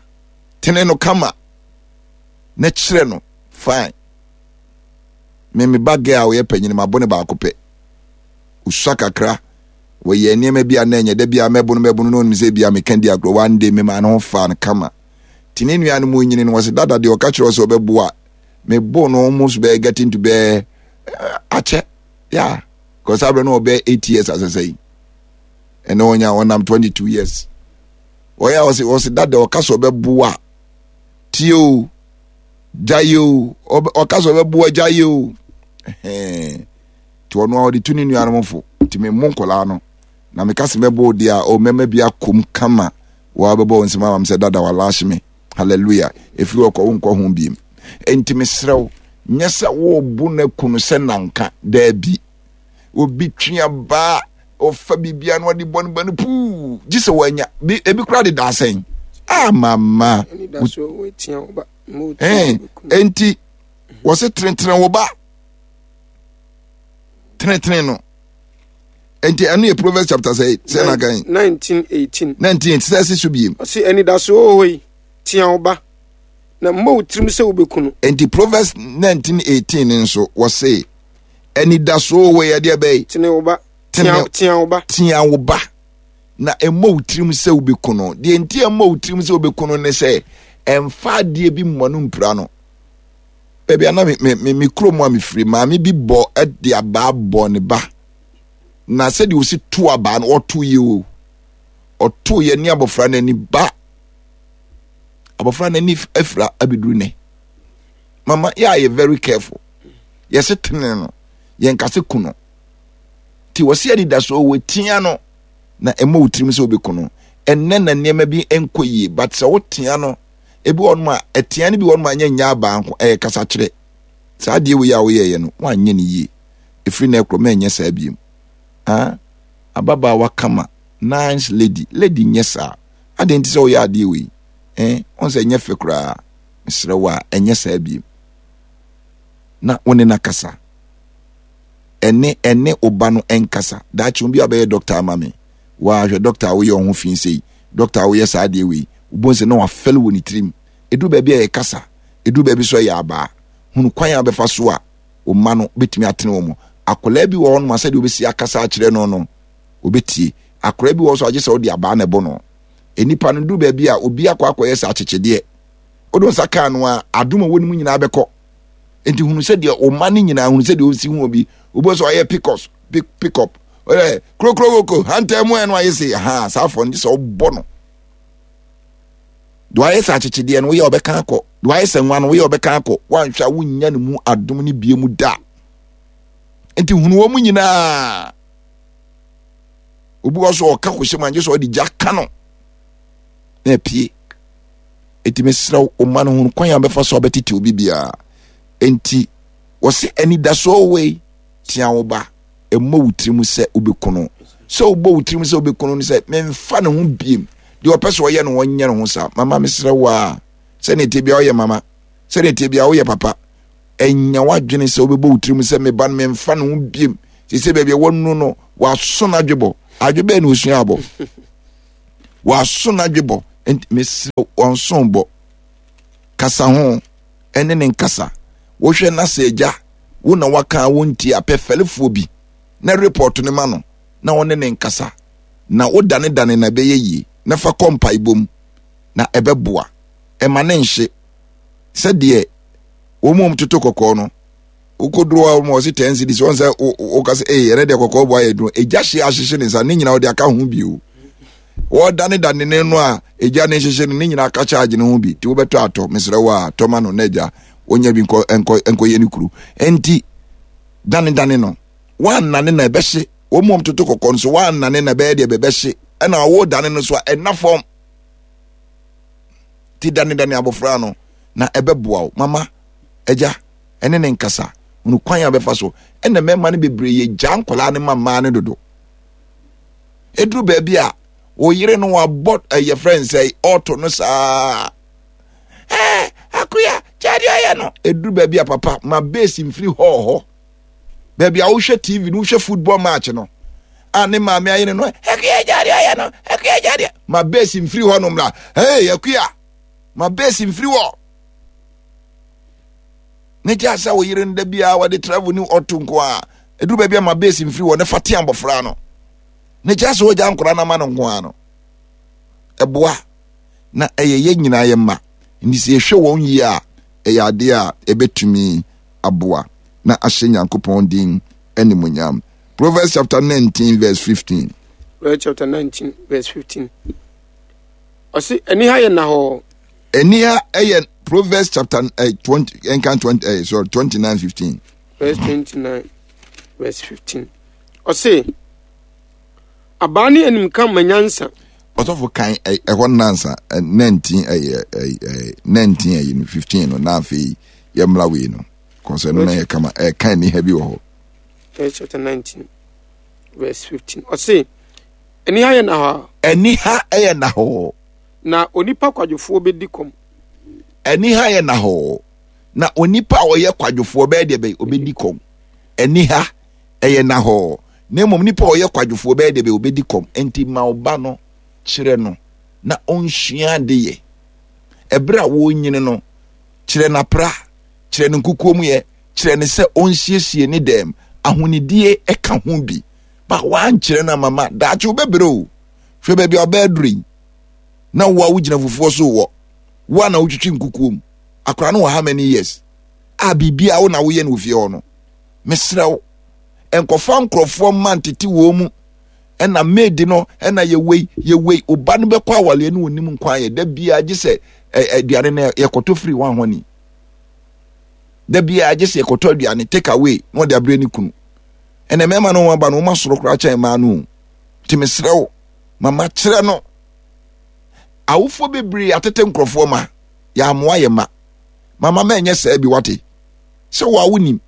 tene no kama na kyerɛ no fine. Me me ba girl a ɔyɛ panyin mabo ne baako pɛ. Osua kakra wɔyɛ nneɛma bi a na ɛnyɛ da bi a mɛbo no mɛbo no na onim sɛ bi a meka di agorɔ one day me maa ne ho faa no kama. Nti ne nuanom nyini no wɔsɛ dada deɛ ɔka kyerɛ sɛ ɔbɛbo a mebo no almost bɛyɛ getting to bɛyɛ eh, akyɛ yeah because abirɛ no ɔbɛyɛ 8 years asɛsɛ yi ɛnna ɔnya ɔnam 22 years. Ɔyɛ a ɔsɛ ɔsɛ dada ɔka sɛ ɔbɛboa tie o gyae o ɔka sɛ ɔbɛboa gyae o ɛhɛn nti ɔno a ɔde tu ne nuanom fo nti me mo nkɔlaa no na meka sɛ mɛbɔ odi a o mɛma bi akom kama wɔabɛbɔ wɔn nsɛm ama me sɛ dada walaahye me hallelujah ɛfiri ɔkɔ wo nkɔ ho biem nti mesrɛ wo nyɛ sɛ wobo no aku no sɛ nanka daabi obi twe abaa ɔfa biribia na ɔde bɔ no ba no puu gye sɛ wanya ebi koraa de daasɛn ah mama enti wɔse tenetene wo ba tenetene no enti ɛno yɛ Proverbs chapter sɛ sɛ na kan 1918 19 sɛ ɛsi so biem ɔse anidasoɔ wɔ hɔ yi tea wo ba na mmɔ wo tirim sɛ wobɛku no. Enti Proverbs 1918 nso wɔse anidasoɔ wɔ yɛ deɛ bɛyi. Tene wo ba. Tene tea wo ba. Tea wo ba. Na mmɔ wo tirim sɛ wobɛku no. Deɛ nti ɛmmɔ wo tirim sɛ wobɛku no ne sɛ ɛmfa adeɛ bi mmɔ no mpira no. Baabi a na me me me kurom a mefiri maame bi bɔ de abaa bɔ ne ba. Na sɛdeɛ ɔsi to abaa no ɔto yɛ o. Ɔto yɛ ne abɔfra no ani ba. Abɔfra no ani afira abɛduru nɛ. Mama yɛ a yɛ very careful. Yɛse tene no yɛnka se ku no. Nti wɔse anidasoɔ wɔ tia no na ɛmmɔ wo tirim sɛ wobɛku no. Ɛnnɛ na nneɛma bi nkɔ yie but sɛ wotea no ebi wɔ nom a ɛtea no bi wɔ nom a nyɛ nyɛ abaa nko ɛyɛ kasakyerɛ. Saa adeɛ wei a woyɛeɛ no woanyɛ no yie. Ɛfiri nnɛ korɔ mɛnyɛ saa biem. Ah, ababaawa kama, nice lady, lady nyɛ saa. Adɛn nti sɛ woyɛ adeɛ wei? Eh, wɔn sɛ ɛnyɛ fɛ koraa. Mesrɛ wo a ɛnyɛ saa biem. Na wo ne no akasa. Ɛne ɛne wo ba no nkasa. Daakye obi a bɛyɛ dɔkta ama me. Waa hwɛ dɔkta a woyɛ wo ho fi sei. Dɔkta a woyɛ saa adeɛ wei. Wobɛhu sɛ na wafɛle wɔ ne tirim. Ɛduru baabi a ɛyɛ kasa. Ɛduru baabi nso ɛyɛ abaa. Hunu kwan a wobɛfa so a wo mma no bɛtumi atene wɔn. Akwadaa bi wɔ hɔnom a sɛdeɛ wobɛsi akasa akyerɛ no no, ɔbɛtie. Akwadaa bi wɔ hɔ nso a gye sɛ wode abaa na ɛbɔ no. Nnipa no duru baabi a obi akɔ akɔyɛ sɛ akyekyedeɛ. Wode wo nsa kaa no a, adom a ɛwɔ ne mu nyinaa bɛkɔ. Nti hunu sɛ deɛ wo mma no nyinaa hunu sɛ deɛ ɔsi hu obi. Wobɛhu sɛ ɔyɛ pick-ups, pick, pick up. Ɔyɛ krokrokoko, hantaa mu ɛno ayɛ sɛ ha saa afɔ no gye sɛ wobɔ no. Deɛ wayɛ sɛ akyekyedeɛ no woyɛ ɔbɛka akɔ. Deɛ wayɛ sɛ nwa no woyɛ ɔbɛka akɔ. Woanhwɛ a wonnya ne mu adom no bie mu da. Nti hunu wɔn nyinaa. Obi wɔ so ɔka kɔhyɛ mu angye sɛ ɔde gya ka no na apue. Enti mesrɛ wo, wo mma no hunu kwan a wɔbɛfa so abɛtete obi biara. Enti wɔse anidasoɔ wei tea wo ba, mmɔ wo tirim sɛ wobɛku no. Sɛ wobɔ wo tirim sɛ wobɛku no no sɛ memfa ne ho biem. Deɛ ɔpɛ sɛ ɔyɛ no ɔnyɛ ne ho saa. Mama mesrɛ wo a, sɛdeɛ ɛteɛ biara woyɛ mama, sɛdeɛ ɛteɛ biara woyɛ papa. Ɛnya w'adwene sɛ wobɛbɔ wo tirim sɛ me ba no memfa ne ho biem. Te sɛ baabi a wɔnu no, waso n'adwebɔ. Adwe bɛɛ na osua abɔ. Waso n'adwebɔ. Nti mesrɛ wɔnso bɔ. Kasa ho ɛne ne nkasa. Wohwɛ na sɛ agya wo na waka a wontie a pɛ fɛlefoɔ bi na report no ma no na ɔne ne nkasa. Na wodanedane na ɛbɛyɛ yie na fa kɔ mpaebɔ mu na ɛbɛboa. Ɛma ne nhye sɛdeɛ wɔn mu toto kɔkɔɔ no wokoduro a wɔn ɔsi ten cedis wɔn sɛ woka sɛ ee ɛnɛ deɛ kɔkɔɔ bɔ ayɛ duro egya hye ahyehye ne nsa ne nyinaa ɔde aka ho bio wɔdanedane ne no a egya ne hyehyɛ no ne nyinaa aka charge ne ho bi ti wobɛtɔ atɔ mesrɛ wo a tɔma no na egya wonya bi nkɔ nkɔ nkɔyɛ ne kuru nti danedane no wɔannane na ɛbɛhye wɔn mu toto kɔkɔɔ no so wɔannane na ɛbɛyɛ deɛ bɛbɛhye ɛna wɔdane no so a ɛna fam ti danedane abɔfra no na ɛbɛboa wo mama agya ɛne ne nkasa hunu kwan a bɛfa so ɛna mmarima no bebree yɛ gyaa nkwadaa no ma mmaa no dodo ɛduru baabi a wo yere no wabɔ ɛyɛ frɛ nsɛ ɔɔto no saa ɛɛ akoya gyaade ayɛ no ɛduru baabi a papa ma base mfiri hɔɔ hɔ baabi a wohwɛ tv no wohwɛ football match no a ne maame ayere no akuya gyaade ayɛ no akuya gyaade ma base mfiri hɔ nom la hey akuya ma base mfiri hɔ ne gya sɛ wo yere no da biara wɔde travel ne ɔto nko a ɛduru baabi a ma base mfiri hɔ ne fa te abɔfra no ne gya sɛ wɔgya nkora no ama no nko a no ɛboa na ɛyɛ yɛn nyinaa yɛ mma nti sɛ yɛhwɛ wɔn yie a ɛyɛ adeɛ a ɛbɛtumi aboa na ahyɛ Nyankopɔn din animuonyam. Proverbs chapter 19 verse 15. Proverbs chapter 19 verse 15. Ɔsi aniha yɛ nahɔɔ. Aniha yɛ Proverbs chapter eh, 20 nkan 20 eh, sorry 29 15. Verse 29 verse 15. Ɔsi abaa ne animka ma nyansa. Ɔsɔfo kan ɛhɔ nansa 19 ɛyɛ 19 ɛyɛ no 15 no na afei yɛmmra wei no kɔsɛ no na yɛ kama ɛka aniha bi wɔ hɔ. Verse chapter 19 verse 15 ɔse aniha yɛ nahɔ. Aniha yɛ nahɔ. Na onipa kwadwofoɔ bɛdi kɔm. Aniha yɛ nahɔ. Na onipa a ɔyɛ kwadwofoɔ bɛyɛ deɛ bɛyɛ ɔbɛdi kɔm. Aniha ɛyɛ nahɔ. Na mmom nipa a ɔyɛ kwadwofoɔ bɛyɛ deɛ bɛyɛ ɔbɛdi kɔm. Nti ma ɔba no kyerɛ no na ɔnsua ade yɛ. Ɛberɛ a wɔrenyini no kyerɛ no apra, kyerɛ no nkukuo mu yɛ, kyerɛ no sɛ ɔnsiesie ne dɛm. Ahonidie ka ho bi. Ba woankyerɛ no amama daakye wobɛbrɛ o. Hwɛ baabi a ɔbɛɛ duro yi. Na wo a wogyina fufuo so wɔ. Wo a na wotwitwi nkukuo mu. Akora no wɔ how many years? A biribiara wo na woyɛ no wɔ fie hɔ no. Mesrɛ wo, nkɔfa nkurɔfoɔ mma ntete wɔn mu ɛna maid no ɛna yɛwei yɛwei ɔba no bɛkɔ awaleɛ no ɔnim nkwan yɛ da biara gye sɛ aduane no yɛkɔtɔ firi wɔn ahɔni da biara gye sɛ yɛkɔtɔ aduane take away na ɔde abrɛ ne kunu ɛna mmarima no wɔn aba no wɔn asoro koraa kyɛn mmaa no o nti mesrɛ wo mama kyerɛ no awofoɔ bebree atete nkurɔfoɔ ma yɛamoa yɛ ma mama mɛnyɛ saa bi wate sɛ wo a wonim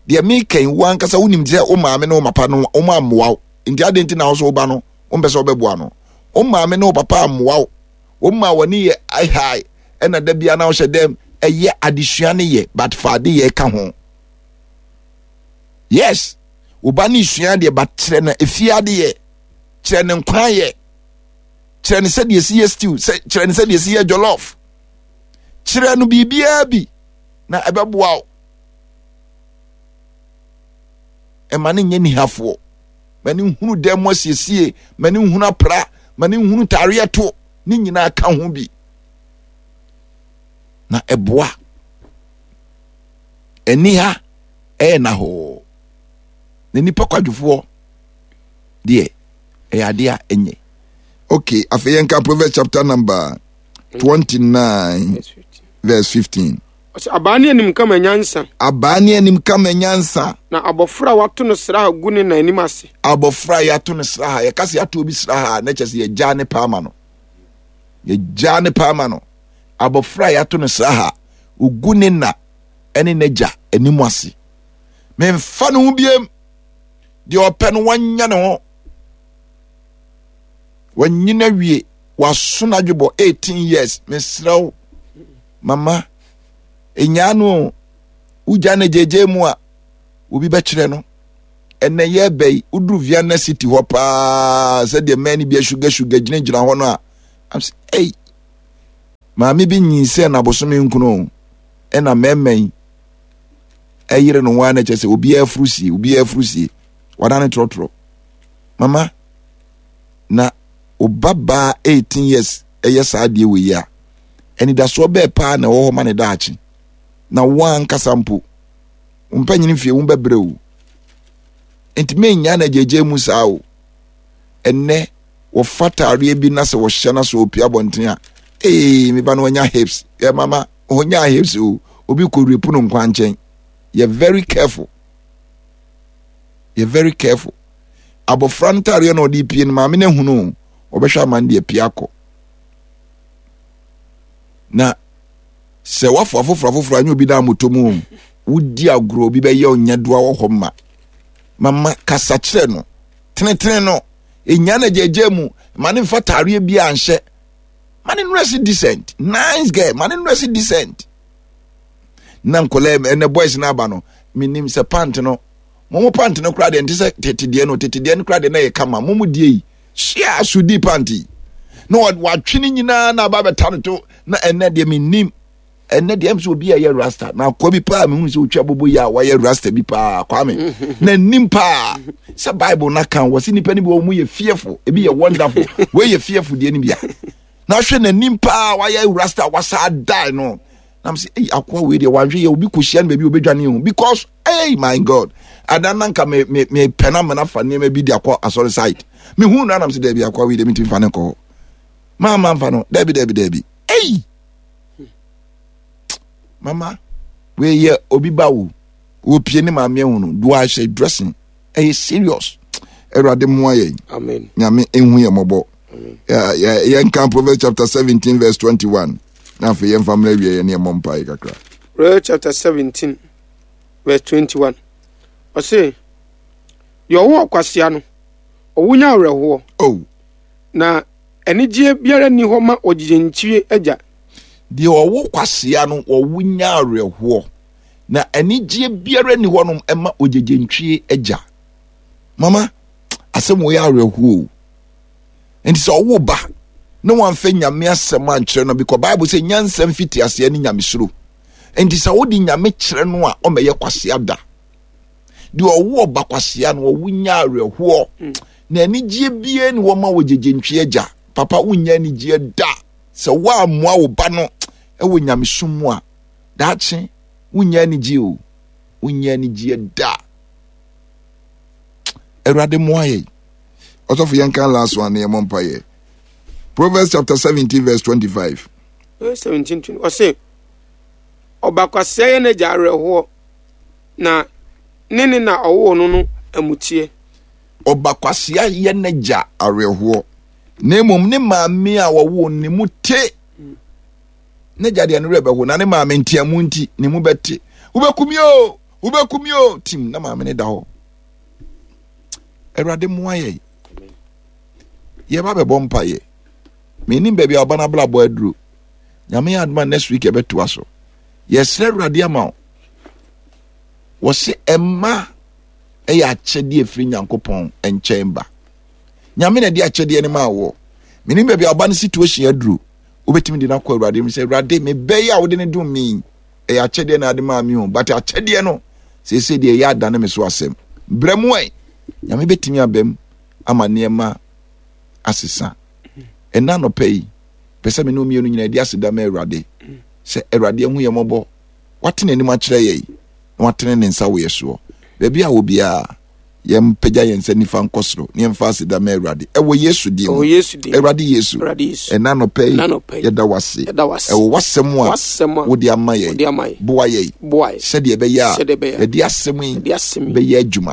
deɛ meka yi wo ankasa wonim sɛ wo maame ne wo papa no wɔn ammoa wo nti adɛn nti na wo so wo ba no wompɛ sɛ wobɛboa no wo maame ne wo papa ammoa wo wɔn ma wɔne yɛ ahae ɛna da bia na wohyɛ dɛm ɛyɛ adesua ne yɛ but fa ade yɛ ka ho yes wo ba ne sua deɛ but kyerɛ no efie ade yɛ kyerɛ no nkwan yɛ kyerɛ no sɛdeɛ esi yɛ stew sɛ kyerɛ no sɛdeɛ esi yɛ jollof kyerɛ no biribiara bi na ɛbɛboa wo ɛma no nyɛ nihafoɔ ma no nhunu dan mu asiesie ma no nhunu apra ma no nhunu taareɛ to ne nyinaa ka ho bi na ɛboa aniha ɛyɛ nahɔɔ na nipa kwadwofoɔ deɛ ɛyɛ adeɛ a ɛnyɛ okay afei yɛnka Proverbs chapter number 29 verse 15 Ɔsɛ abaa ne anim kama nyansa. Abaa ne anim kama nyansa. Na abɔfra a wɔato no sraha gu ne na anim ase. Abɔfra a yɛato no sraha, yɛka sɛ yɛato obi sraha a, na kyerɛ sɛ yɛgyaa ne paa ma no. Yɛgyaa ne paa ma no. Abɔfra a yɛato no sraha, ogu ne na ne n'agya anim ase. Memfa ne ho biem. Deɛ ɔpɛ no wanya ne ho. Wanyina wie, waso n'adwebɔ 18 years. Mesrɛ wo. Mama, enyaa no o, wogya no gyegye mu a, obi bɛkyerɛ no. Ɛnɛ yɛreba yi, woduru Vienna City hɔ paa sɛdeɛ mmaa no bi asuga suga gyinagyina hɔ no a, I'm sɛ, ei, maame bi nyinsɛn na abosome nkono o, ɛna mmarima yi ɛyere no ho ara na kyerɛ sɛ obiara afuru sie, obiara afuru sie, wadane trɔtrɔ. Mama, na ɔba baa 18 years ɛyɛ saa adeɛ wɔ yi a, anidasoɔ bɛɛ paa na ɛwɔ hɔ ma ne daakye. Na wo ankasa mpo, wo mpanyini fie wo bɛbrɛ o. Nti mennya na gyegye mu saa o. Ɛnɛ wɔfa taareɛ bi na sɛ wɔhyɛ na sɛ ɔpia abɔnten a, ee me ba no wanya hips. Yɛ mama, ɔnya hips o. Obi kɔ rape no nkwankyɛn. Yɛ very careful. Yɛ very careful. Abɔfra no taareɛ na ɔde pie no maame no ahunu o. Ɔbɛhwɛ ama no de apue akɔ. Na sɛ wafo afoforo afoforo anyɛ obi na amotɔ mu o. Wodi agorɔ obi bɛyɛ ɔnyɛdoa wɔ hɔ ma. Mama kasa kyerɛ no. Tenetene no. Enya na gyegye mu. Ma ne mfa taareɛ bi anhyɛ. Ma ne nurse decent. Nice girl. Ma ne nurse decent. Na nkɔla ɛnɛ boys no aba no. Menim sɛ pant no. Mo mo pant no koraa deɛ nte sɛ tete deɛ no. Tete deɛ no koraa deɛ na yɛ kama. Mo mo deɛ yi. Hyia sudi pant yi. Na watwe ne nyinaa na aba bɛta no to. Na ɛnɛ deɛ menim. Ɛnɛ deɛ ɛm sɛ obi a ɛyɛ rasta na akoa bi paa mehu sɛ otwa bobo yi a wayɛ rasta bi paa kwame na nim paa sɛ bible na kan wɔ sɛ nipa no bi wɔ mu yɛ fearful ebi yɛ wonderful wei yɛ fearful deɛ no bia na ahwɛ n'anim paa wayɛ rasta wasa die no na m sɛ ei akoa wei deɛ wanhwɛ yɛ obi kɔhyia no baabi obɛdwane ho because hey my god adan na nka me me me pɛ na mena fa nneɛma bi de akɔ asɔre side mehu no anam sɛ daabi akoa wei deɛ mentumi fa ne nkɔ hɔ maa mamfa no daabi daabi daabi ei mama wei yɛ obi ba wo wɔpie ne maame ahu no do ahyɛ dressing ɛyɛ serious awurade mmoa yɛn amen nyame ehu yɛn mmɔbɔ yɛnka Proverbs chapter 17 verse 21 na afei yɛmfa mmerɛ awie yɛne yɛmmɔ mpae kakra. Proverbs chapter 17 verse 21 ɔse deɛ ɔwo ɔkwasea no ɔwo nya awerɛhoɔ oh. na Anigyeɛ biara nni hɔ ma ɔgyegyenkyie agya. Deɛ ɔwo kwasea no, ɔwo nya awerɛhoɔ, na anigyeɛ biara nni hɔnom ma ogyegyentwie agya. Mama, asɛm wɔ yɛ awerɛhoɔ o. Nti sɛ ɔwo ba na wamfa nyame asɛm ankyerɛ no, because Bible sɛ nyansa mfiti aseɛ ne nyamesuro. Nti sɛ wode nyame kyerɛ no a, ɔmmɛyɛ kwasea da. Deɛ ɔwo ɔba kwasea no, ɔwo nya awerɛhoɔ. Mm. Na anigyeɛ biara ni hɔ ma wɔ gyegyentwie agya. Papa wonnya anigyeɛ da sɛ woammoa wo ba no wɔ nyamesom mu a. Daakye wonnya anigyeɛ o. Wonnya anigyeɛ da. Awurade mmoa yɛn. Ɔsɔfo yɛn kan last one na yɛmmɔ mpaeɛ. Proverbs chapter 17 verse 25. Verse 17 20. Ɔse, ɔbakwasea yɛ n'agya awerɛhoɔ na ne ne na ɔwoo no no amuteɛ. Ɔba kwasea yɛ n'agya awerɛhoɔ, na mmom ne maame a wɔwoo ne mu te. N'agya deɛ ne werɛ bɛho, na ne maame nteamu nti ne mu bɛte. Wobɛku mi o, wobɛku mi o, tim na maame ne da hɔ. Awurade mmoa yɛn. Yɛba bɛbɔ mpaeɛ. Menim baabi a ɔba no abrabɔ aduro. Nyame yɛ adoma next week yɛbɛtoa so. Yɛsrɛ Awurade ama wo. Wɔse ɛma yɛ akyɛdeɛ ɛfiri Nyankopɔn nkyɛn ba. Nyame na ɛde akyɛdeɛ no maa woɔ. Menim baabi a ɔba no situation aduru. Wobɛtumi de no akɔ Awurade mu sɛ, Awurade, mebɛ yi a wode no dom me ɛyɛ akyɛdeɛ na ade maa me o. But akyɛdeɛ no, seesei deɛ ɛyɛ adane me so asɛm. Brɛ mu ɛ. Nyame bɛtumi abam ama nneɛma asesa. Ɛna anɔpa yi, pɛ sɛ me ne mmienu nyinaa di aseda ma Awurade sɛ Awurade ahu yɛn mmɔbɔ, wate n'anim akyerɛ yɛn. na watene ne nsa wɔ yɛ soɔ. Baabi a wɔ biara, yɛmpagya yɛn nsa nifa nkɔ soro na yɛmfa aseda ma Awurade. Ɛwɔ Yesu din mu. Awurade Yesu, ɛna anɔpa yi, yɛda wo ase. Ɛwɔ w'asɛm a wode ama yɛn. Boa yɛn sɛdeɛ ɛbɛyɛ a yɛde asɛm yi bɛyɛ adwuma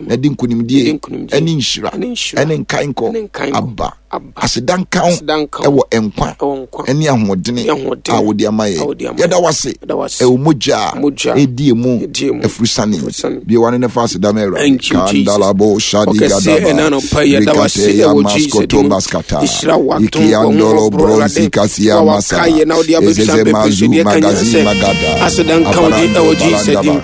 na ɛde nkonimdie ɛne nhyira ɛne nkankɔ aba. Aseda nka wo ɛwɔ nkwa ɛne ahoɔdene a wode ama yɛn. Yɛda wase ɛwɔ mogya a ɛdi emu afurusane. Bie wano ne fa aseda ma Awurade. Kandalabo shadi gadaba rikate ya maskoto baskata ikiandolo bronzi kasia masa ezeze mazu magazi magada abarando balandaba.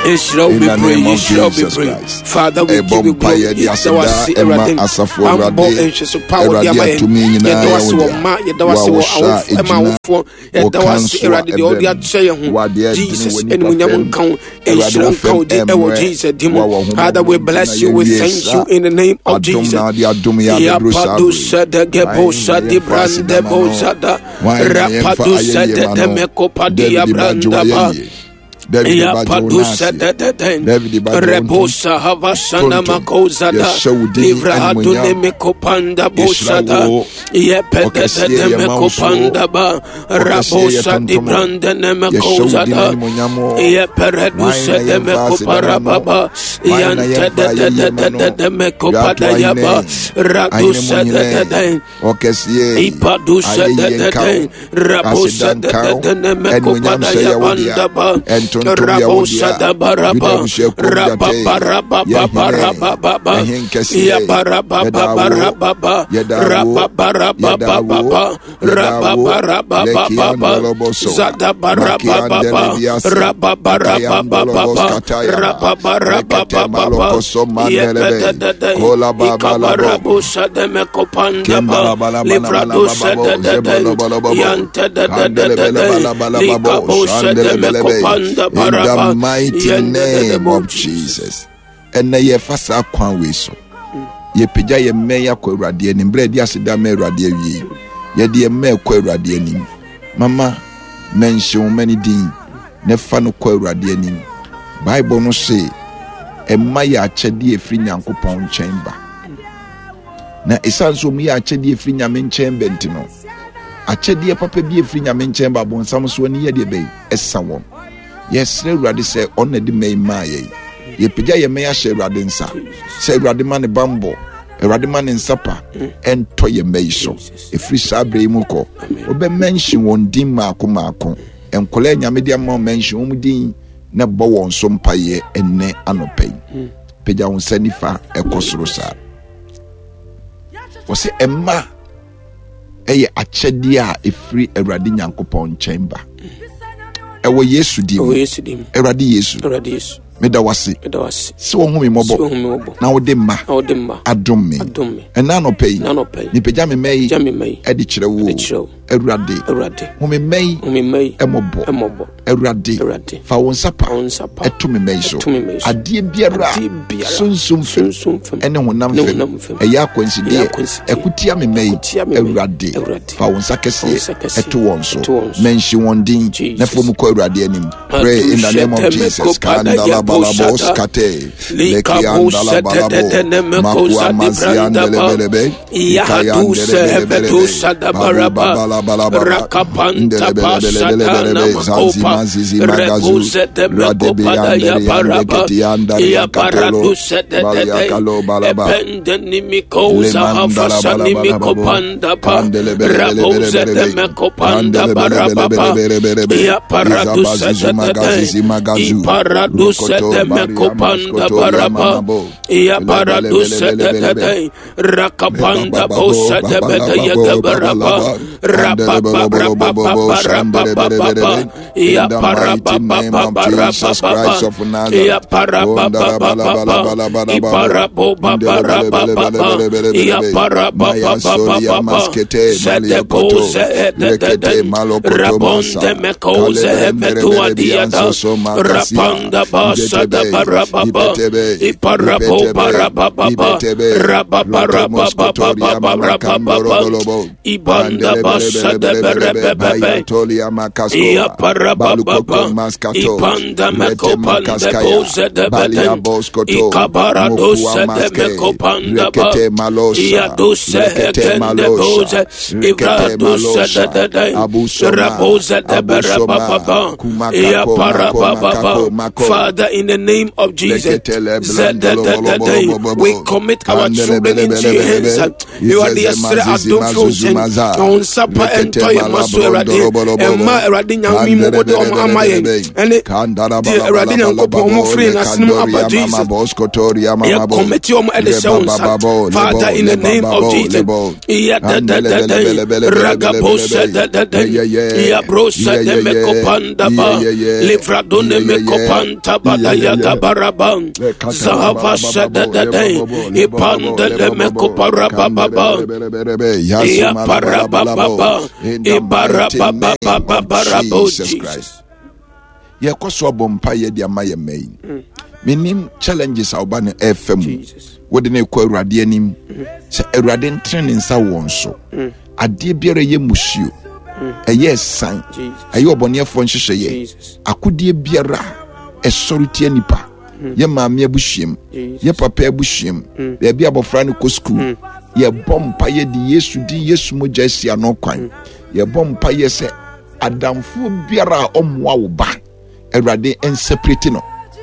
Nhyira wo In the bebree, name of nhyira wo Jesus bebree. Christ. Father, we Ɛbɔ give you mpaeɛ glory. de Yɛda wo aseda ase, ɛma Awurade. asafo Bammɔ Awurade. nhwɛso pa a wode Awurade ama yɛn. atumi nyinaa Yɛda wo yɛ ase wo wɔ dea. mma, yɛda wo Wo a ase wɔ wohyɛ a awofo, ɛma ɛgyina awofoɔ. wo Yɛda wo ase, kanso a Awurade, deɛ wode ɛbɛm. akyɛ yɛn ho. Wo adeɛ ɛdene Jesus, wɔ nipa animuonyam fam. nka wo. Awurade Nhyira wo nka fam wo din ɛwɔ ɛmmerɛ. Jesus din Wo mu. a wɔn ho Father, we mmɔbɔ nti na bless you. We yɛwie thank saa. you in the name of Adom Jesus. na ade adom yɛ abɛduru saa Yapadu bere yi. sedegebo Hwan na sadi yɛmfa aseda ma brandebo no? sada Hwan na yɛmfa rapadu ayɛyie ma no? sededemeko padia David ba gye brandaba. w'ayɛyie. David ba gye wo Yapadusa n'aseɛ. de de den David ba gye wo ntom. Rebosa Havasana Tontom. Makozada Yɛhyɛ wo din Livra animuonyam. Adune Mekopanda Yɛhyira Bosada wo. Yepe de de Ɔkɛseɛ de yɛma wo so. Mekopanda Ba Ɔkɛseɛ Rabosa di yɛtontom wo. Brandene Yɛhyɛ wo din Mekozada animuonyam o. Yeperedusa Hwan na de yɛmfa aseda ma Mekopara no? Baba Hwan na Yante yɛmfa de de ayɛyie de ma de no? de de Dwato Mekopada ahene, Yaba ahene mu Radusa de hene, de de ɔkɛseɛ, Ipadusa de ayɛyie de nka wo, de, aseda Rabosa de nka de wo, de ne anuonyam mekopada hyɛ ya yɛ wo dea, bandaba, ɛntontom yɛ wo Rabosa dea. da Yuda baraba, abusuakuo mu gyata yi, Rababaraba yɛ hene, barababa, ɛhen kɛseɛ, Ya baraba yɛda wo, barababa, yɛda wo, Rababaraba yɛda wo, baba, yɛda wo, Rababaraba baba, lekiandoloboso, Zada baraba baba, makiandelebiasi, Rababaraba akayandolobos baba, katayaba, Rababaraba rekete baba, malokoso mandelebe, Yepe de de de, kola babalabo, Ikabarabosa de mekopanda ba, Kembala bala bala bala Livradosa babo de de de, zebolo bolo babo Yante de de de kandele de bele de, bala bala babo Likabosa de shandele bele be. mekopanda In the baraba, mighty Yende de de name bo of Jesus. Jesus. Ɛnɛ yɛfa saa kwan wei so. Yɛpagya yɛn mmɛn akɔ Awurade anim. Berɛ a yɛde aseda ma Awurade awie yi, yɛde yɛn mmɛn kɔ Awurade anim. Mama mɛnhye wo mma no din na fa no kɔ Awurade anim. Bible no se ɛma yɛ akyɛdeɛ ɛfiri Nyankopɔn nkyɛn ba. Na ɛsiane sɛ wɔn yɛ akyɛdeɛ ɛfiri Nyame nkyɛn ba nti no, akyɛdeɛ papa bi ɛfiri Nyame nkyɛn ba abonsam so ani yɛ deɛ bɛyi ɛsa wɔn. Yɛsrɛ Awurade sɛ ɔno na ɛde mmɛ yi maa yɛn. Yɛpagya yɛn mmɛ ahyɛ Awurade nsa sɛ Awurade ma ne bammɔ, Awurade ma ne nsa pa ɛntɔ yɛn mmɛ yi so. Ɛfiri saa berɛ yi mu kɔ, wobɛmɛnhye wɔn din mmaako mmaako. Nkwadaa Nyame de ama wɔn mɛnhye wɔn din na bɔ wɔn so mpaeɛ ɛnnɛ anɔpa yi. Pagya wo nsa nifa ɛkɔ soro saa. Wɔsɛ ɛma ɛyɛ akyɛdeɛ a ɛfiri Awurade Nyankopɔn nkyɛn ba. Ɛwɔ Yesu din mu. Awurade Yesu. Meda wase sɛ wɔhu me mmɔbɔ na wode mma adom me. Ɛna anɔpa yi mepagya me mma yi ɛde kyerɛ wo. Awurade hu me mma yi mmɔbɔ. Awurade fa wo nsa pa ɛto me mma yi so. Adeɛ biara sunsum fam ɛne honam fam ɛyɛ akwansideɛ ɛko tia me mma yi. Awurade fa wo nsa kɛseɛ ɛto wɔn so. Mɛnhye wɔn din na fa mu kɔ Awurade anim. Pray in the name of Jesus. Kandala balabos kate. Lekiandala balabo. Makua maziandelebelebe. Yahaduse Hevetusa Dabaraba Rakapanta Pasatana Makopa Rebuse de Mekopada Yaparaba Yaparaduse de Epende Nimikoza Hafasani Mikopanda Pa Rabuse de Mekopanda Barababa Yaparaduse de Iparaduse de Mekopanda Baraba Yaparaduse de Rakapanda bosa de bede yagabaraba In the mighty name of Jesus Christ of Nazareth. Mayasoria maskete maliakoto rekete malokoto masa kalebrendereberebiansoso makasia ibetebe ibetebe ibetebe ibetebe rotomoskotoria mamakandorobolobo Ibanda basa de berebebebe. Bayatolia makaskoa Iya balukoko parababa. maskato Ipanda rete mekopanda makaskaya boze de balia beden. boskoto Ikabara mokua dose de maske mekopanda ba. rekete malosha Iya dose rekete hekende malosha boze. Ivra rekete dose de malosha de de. abusoma Raboze de abusoma berababa. Iya kumakako mako parababa. makako mako Father, in the name of Jesus, leketele zedededede, we blondolobolobobobo commit our children into your hands. kandelebelebelebelebe You are the izeze mazizi Esre mazuzu Adolfo maza on Sapa ɛntɔ yɛn ma so Awurade. Ɛmma Awurade Nyame mu wode ɔmo ama yɛn ɛne deɛ Awurade Nyankopɔn ɔmo firi yɛn asene mu aba Jesus. Yɛ kɔmɛti ɔmo ɛde hyɛ wo nsa. Father, in the name of Jesus. Ya da da da da. Ragabosa da da da. Ya brosa de mekopanda ba. Livradone mekopanta ba da ya gabaraba. Zahava sa da da da. Ipanda le mekopara ba ba ba. Ya para ba ba ba. Ibara ba ba ba ba ba ra bo Jesus. Yɛkɔ so abɔ mpa yɛ de ama yɛ mma yi. Menim challenges a woba no ɛfa mu. Wode no kɔ Awurade anim sɛ Awurade ntene ne nsa wɔn so. Adeɛ biara ɛyɛ musuo, ɛyɛ ɛsan, ɛyɛ ɔbɔneɛfoɔ nhyehyɛeɛ, akodeɛ biara ɛsɔre tia nipa, yɛ maame abusuam, yɛ papa abusuam, baabi abɔfra no kɔ sukuu. Yɛbɔ mpa yɛ de Yesu din, Yesu mogya asi ano kwan. Yɛbɔ mpa yɛ sɛ adamfoɔ biara a ɔmmoa wo ba, Awurade nseparate no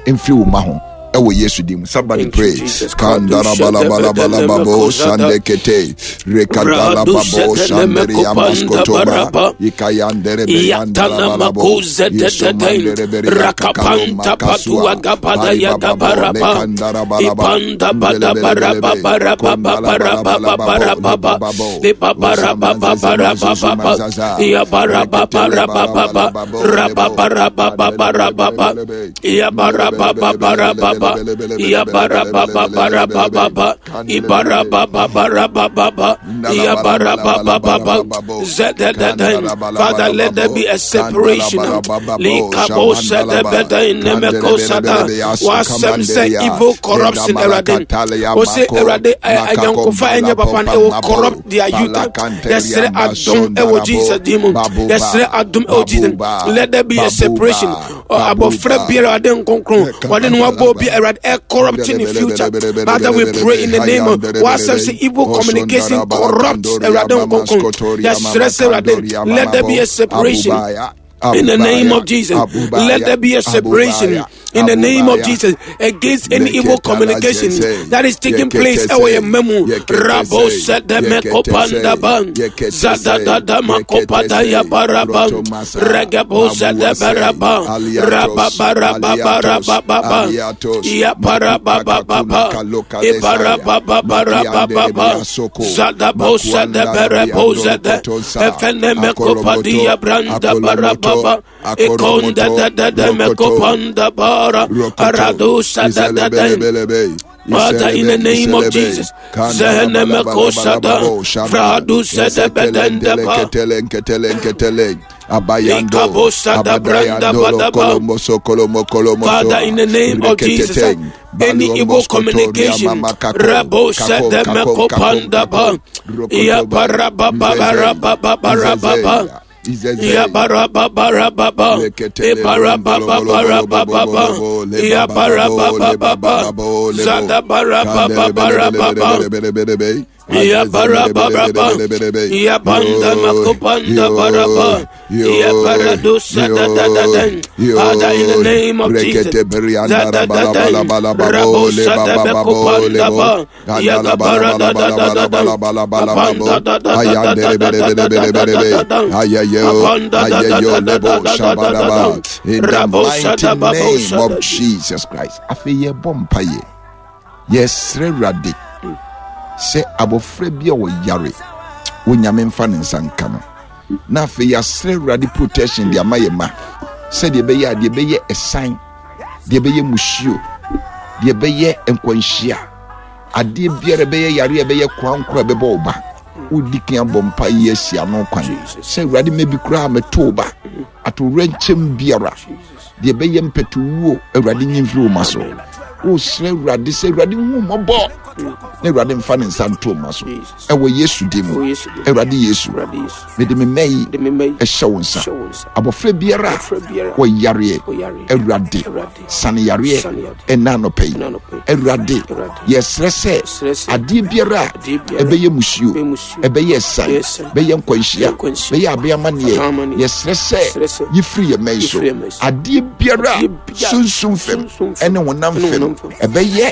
mfiri wo ma ho ɛwɔ Yesu din mu. Somebody pray. Kandara bala bala bala babo sande kete rekadala babo sandere yamaskotoba ikayandere beyandala bala bo Yesu mandere bere yakakalo makasua bari bababo lekandara bala ba ndele bele bele be kondala bala bala babo le bababo Father, let there be a separation. Wasɛm sɛ evil corruption, Awurade. Ɔsɛ Awurade ayɔnkofa ɛnyɛ papa no, it will corrupt their youth. Yɛsrɛ adom ɛwɔ Jesus din mu. Yɛsrɛ adom ɛwɔ Jesus. Let there be a separation. Abɔfra biara Awurade nkonkron wɔde ne ho abɔ obi Awurade ɛ corrupt in the future. Father, we pray in the name of wasɛm sɛ evil communication corrupts Awurade nkonkron. Yɛsrɛ sɛ Awurade, let there be a separation. In the name of Jesus, let there be a separation. In the name of Jesus, against any evil communication that is taking place. Ɛwɔ yɛn mma mu. Rabo sɛdɛ mɛkopanda ban. Zadadada makopada ya baraba. Regebo sɛdɛ baraba. Rababarababarabarababa. Ya parabababa. Ibarababarabarababa. Zadabo sɛdɛ berebo sɛdɛ. Efene mekopadia branda barababa. Ikonda da da da mekopanda bara. Aradu sada da da. Father, in the name of Jesus, Zehene mekosada, Fradu sede bedende ba. Father, in the name of Jesus, any evil communication, Rabo sede mekopanda ba. Ya barababa barababa barababa. Ya barababa Ibarababa barababa. Ya barababa. Zada barababa barababa. Ya barababa. Ya banda makopanda baraba. Ya baradusa da da da da. Father, in the name of Jesus. Da da da da. Rabosa da bekopanda ba. Ya gabara da da da da da. Abanda da da da da da da da da da da da. Abanda da da da da da da da da da. In the Rabosa mighty da name babosa of da. Jesus Christ. Afei yɛbɔ mpaeɛ. Yɛsrɛ Awurade sɛ abɔfra bi a ɔyare, Onyame mfa ne nsa nka no. Na afei yɛasrɛ Awurade protection de ama yɛ ma, sɛdeɛ ɛbɛyɛ a deɛ ɛbɛyɛ ɛsan, deɛ ɛbɛyɛ musuo, deɛ ɛbɛyɛ nkwanhyia, adeɛ biara ɛbɛyɛ yare a ɛbɛyɛ korankora ɛbɛbɔ wo ba. Wodi kan abɔ mpa yi asi ano kwan sɛ Awurade mɛbi koraa mɛto wo ba atowerɛnkyɛm biara, deɛ ɛbɛyɛ mpɛtowuo, Awurade nyi mfiri wo ma so. Wosrɛ Awurade sɛ Awurade hu mmɔbɔ na Awurade mfa ne nsa nto wo ma so ɛwɔ Yesu din mu. Awurade Yesu, mede me mma yi ɛhyɛ wo nsa. Abɔfra biara a wɔyareɛ, Awurade sane yareɛ ɛna anɔpa yi. Awurade, yɛsrɛ sɛ adeɛ biara a ɛbɛyɛ musuo, ɛbɛyɛ ɛsan, bɛyɛ nkwanhyia, bɛyɛ abeamanneɛ, yɛsrɛ sɛ yɛfiri yɛn mma yi so. Adeɛ biara a sunsum fam ɛne honam fam ɛbɛyɛ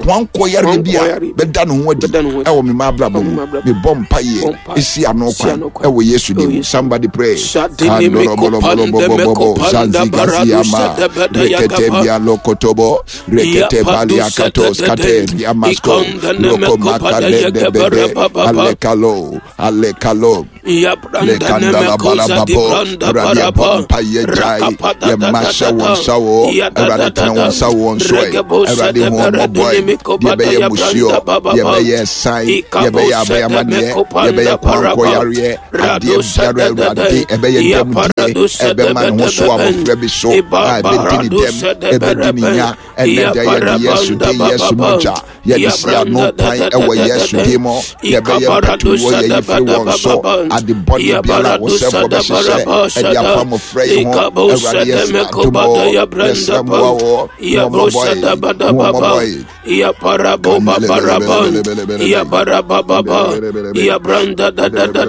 koankɔ yareɛ bi a a bɛda ne ho adi ɛwɔ me ma abrabɔ mu. Mebɔ mpaeɛ ɛsi ano kwan ɛwɔ Yesu din mu. Somebody pray. Kandorobolobolobolobo zanzigasiama rekete bialokotobo rekete baliakatos kate biamasko rokomakadebebebe alekalo alekalo lekandala balababo. Awurade, yɛbɔ mpaeɛ gyae yɛma hyɛ wɔn nsa wɔ. Awurade, tena wɔn nsa wɔ nso ɛ. Awurade, hu wɔn mmɔbɔ ɛ. Deɛ ɛbɛyɛ musuo, deɛ ɛbɛyɛ san, deɛ ɛbɛyɛ abayamadeɛ, deɛ ɛbɛyɛ kwankɔ yareɛ, adeɛ biara, Awurade, ɛbɛyɛ dɛm die ɛbɛma ne ho so abɔfra bi so a ɛbɛdi ne dɛm, ɛbɛdi ne nya ɛnɛ da, yɛde Yesu din, Yesu mogya, yɛde si ano kwan ɛwɔ Yesu din mu. Yɛbɛyɛ mpatuwɔ, yɛyi firi wɔn so. Ade bɔne biara a wɔsɛfoɔ bɛhyehyɛ ɛde afa mmɔfra yi ho, Awurade, yɛsrɛ adom o, yɛsrɛ mmoa o, wɔmmɔbɔe, wɔmmɔbɔe. Ya parabo babaraba, ya barababa, ya branda da da da.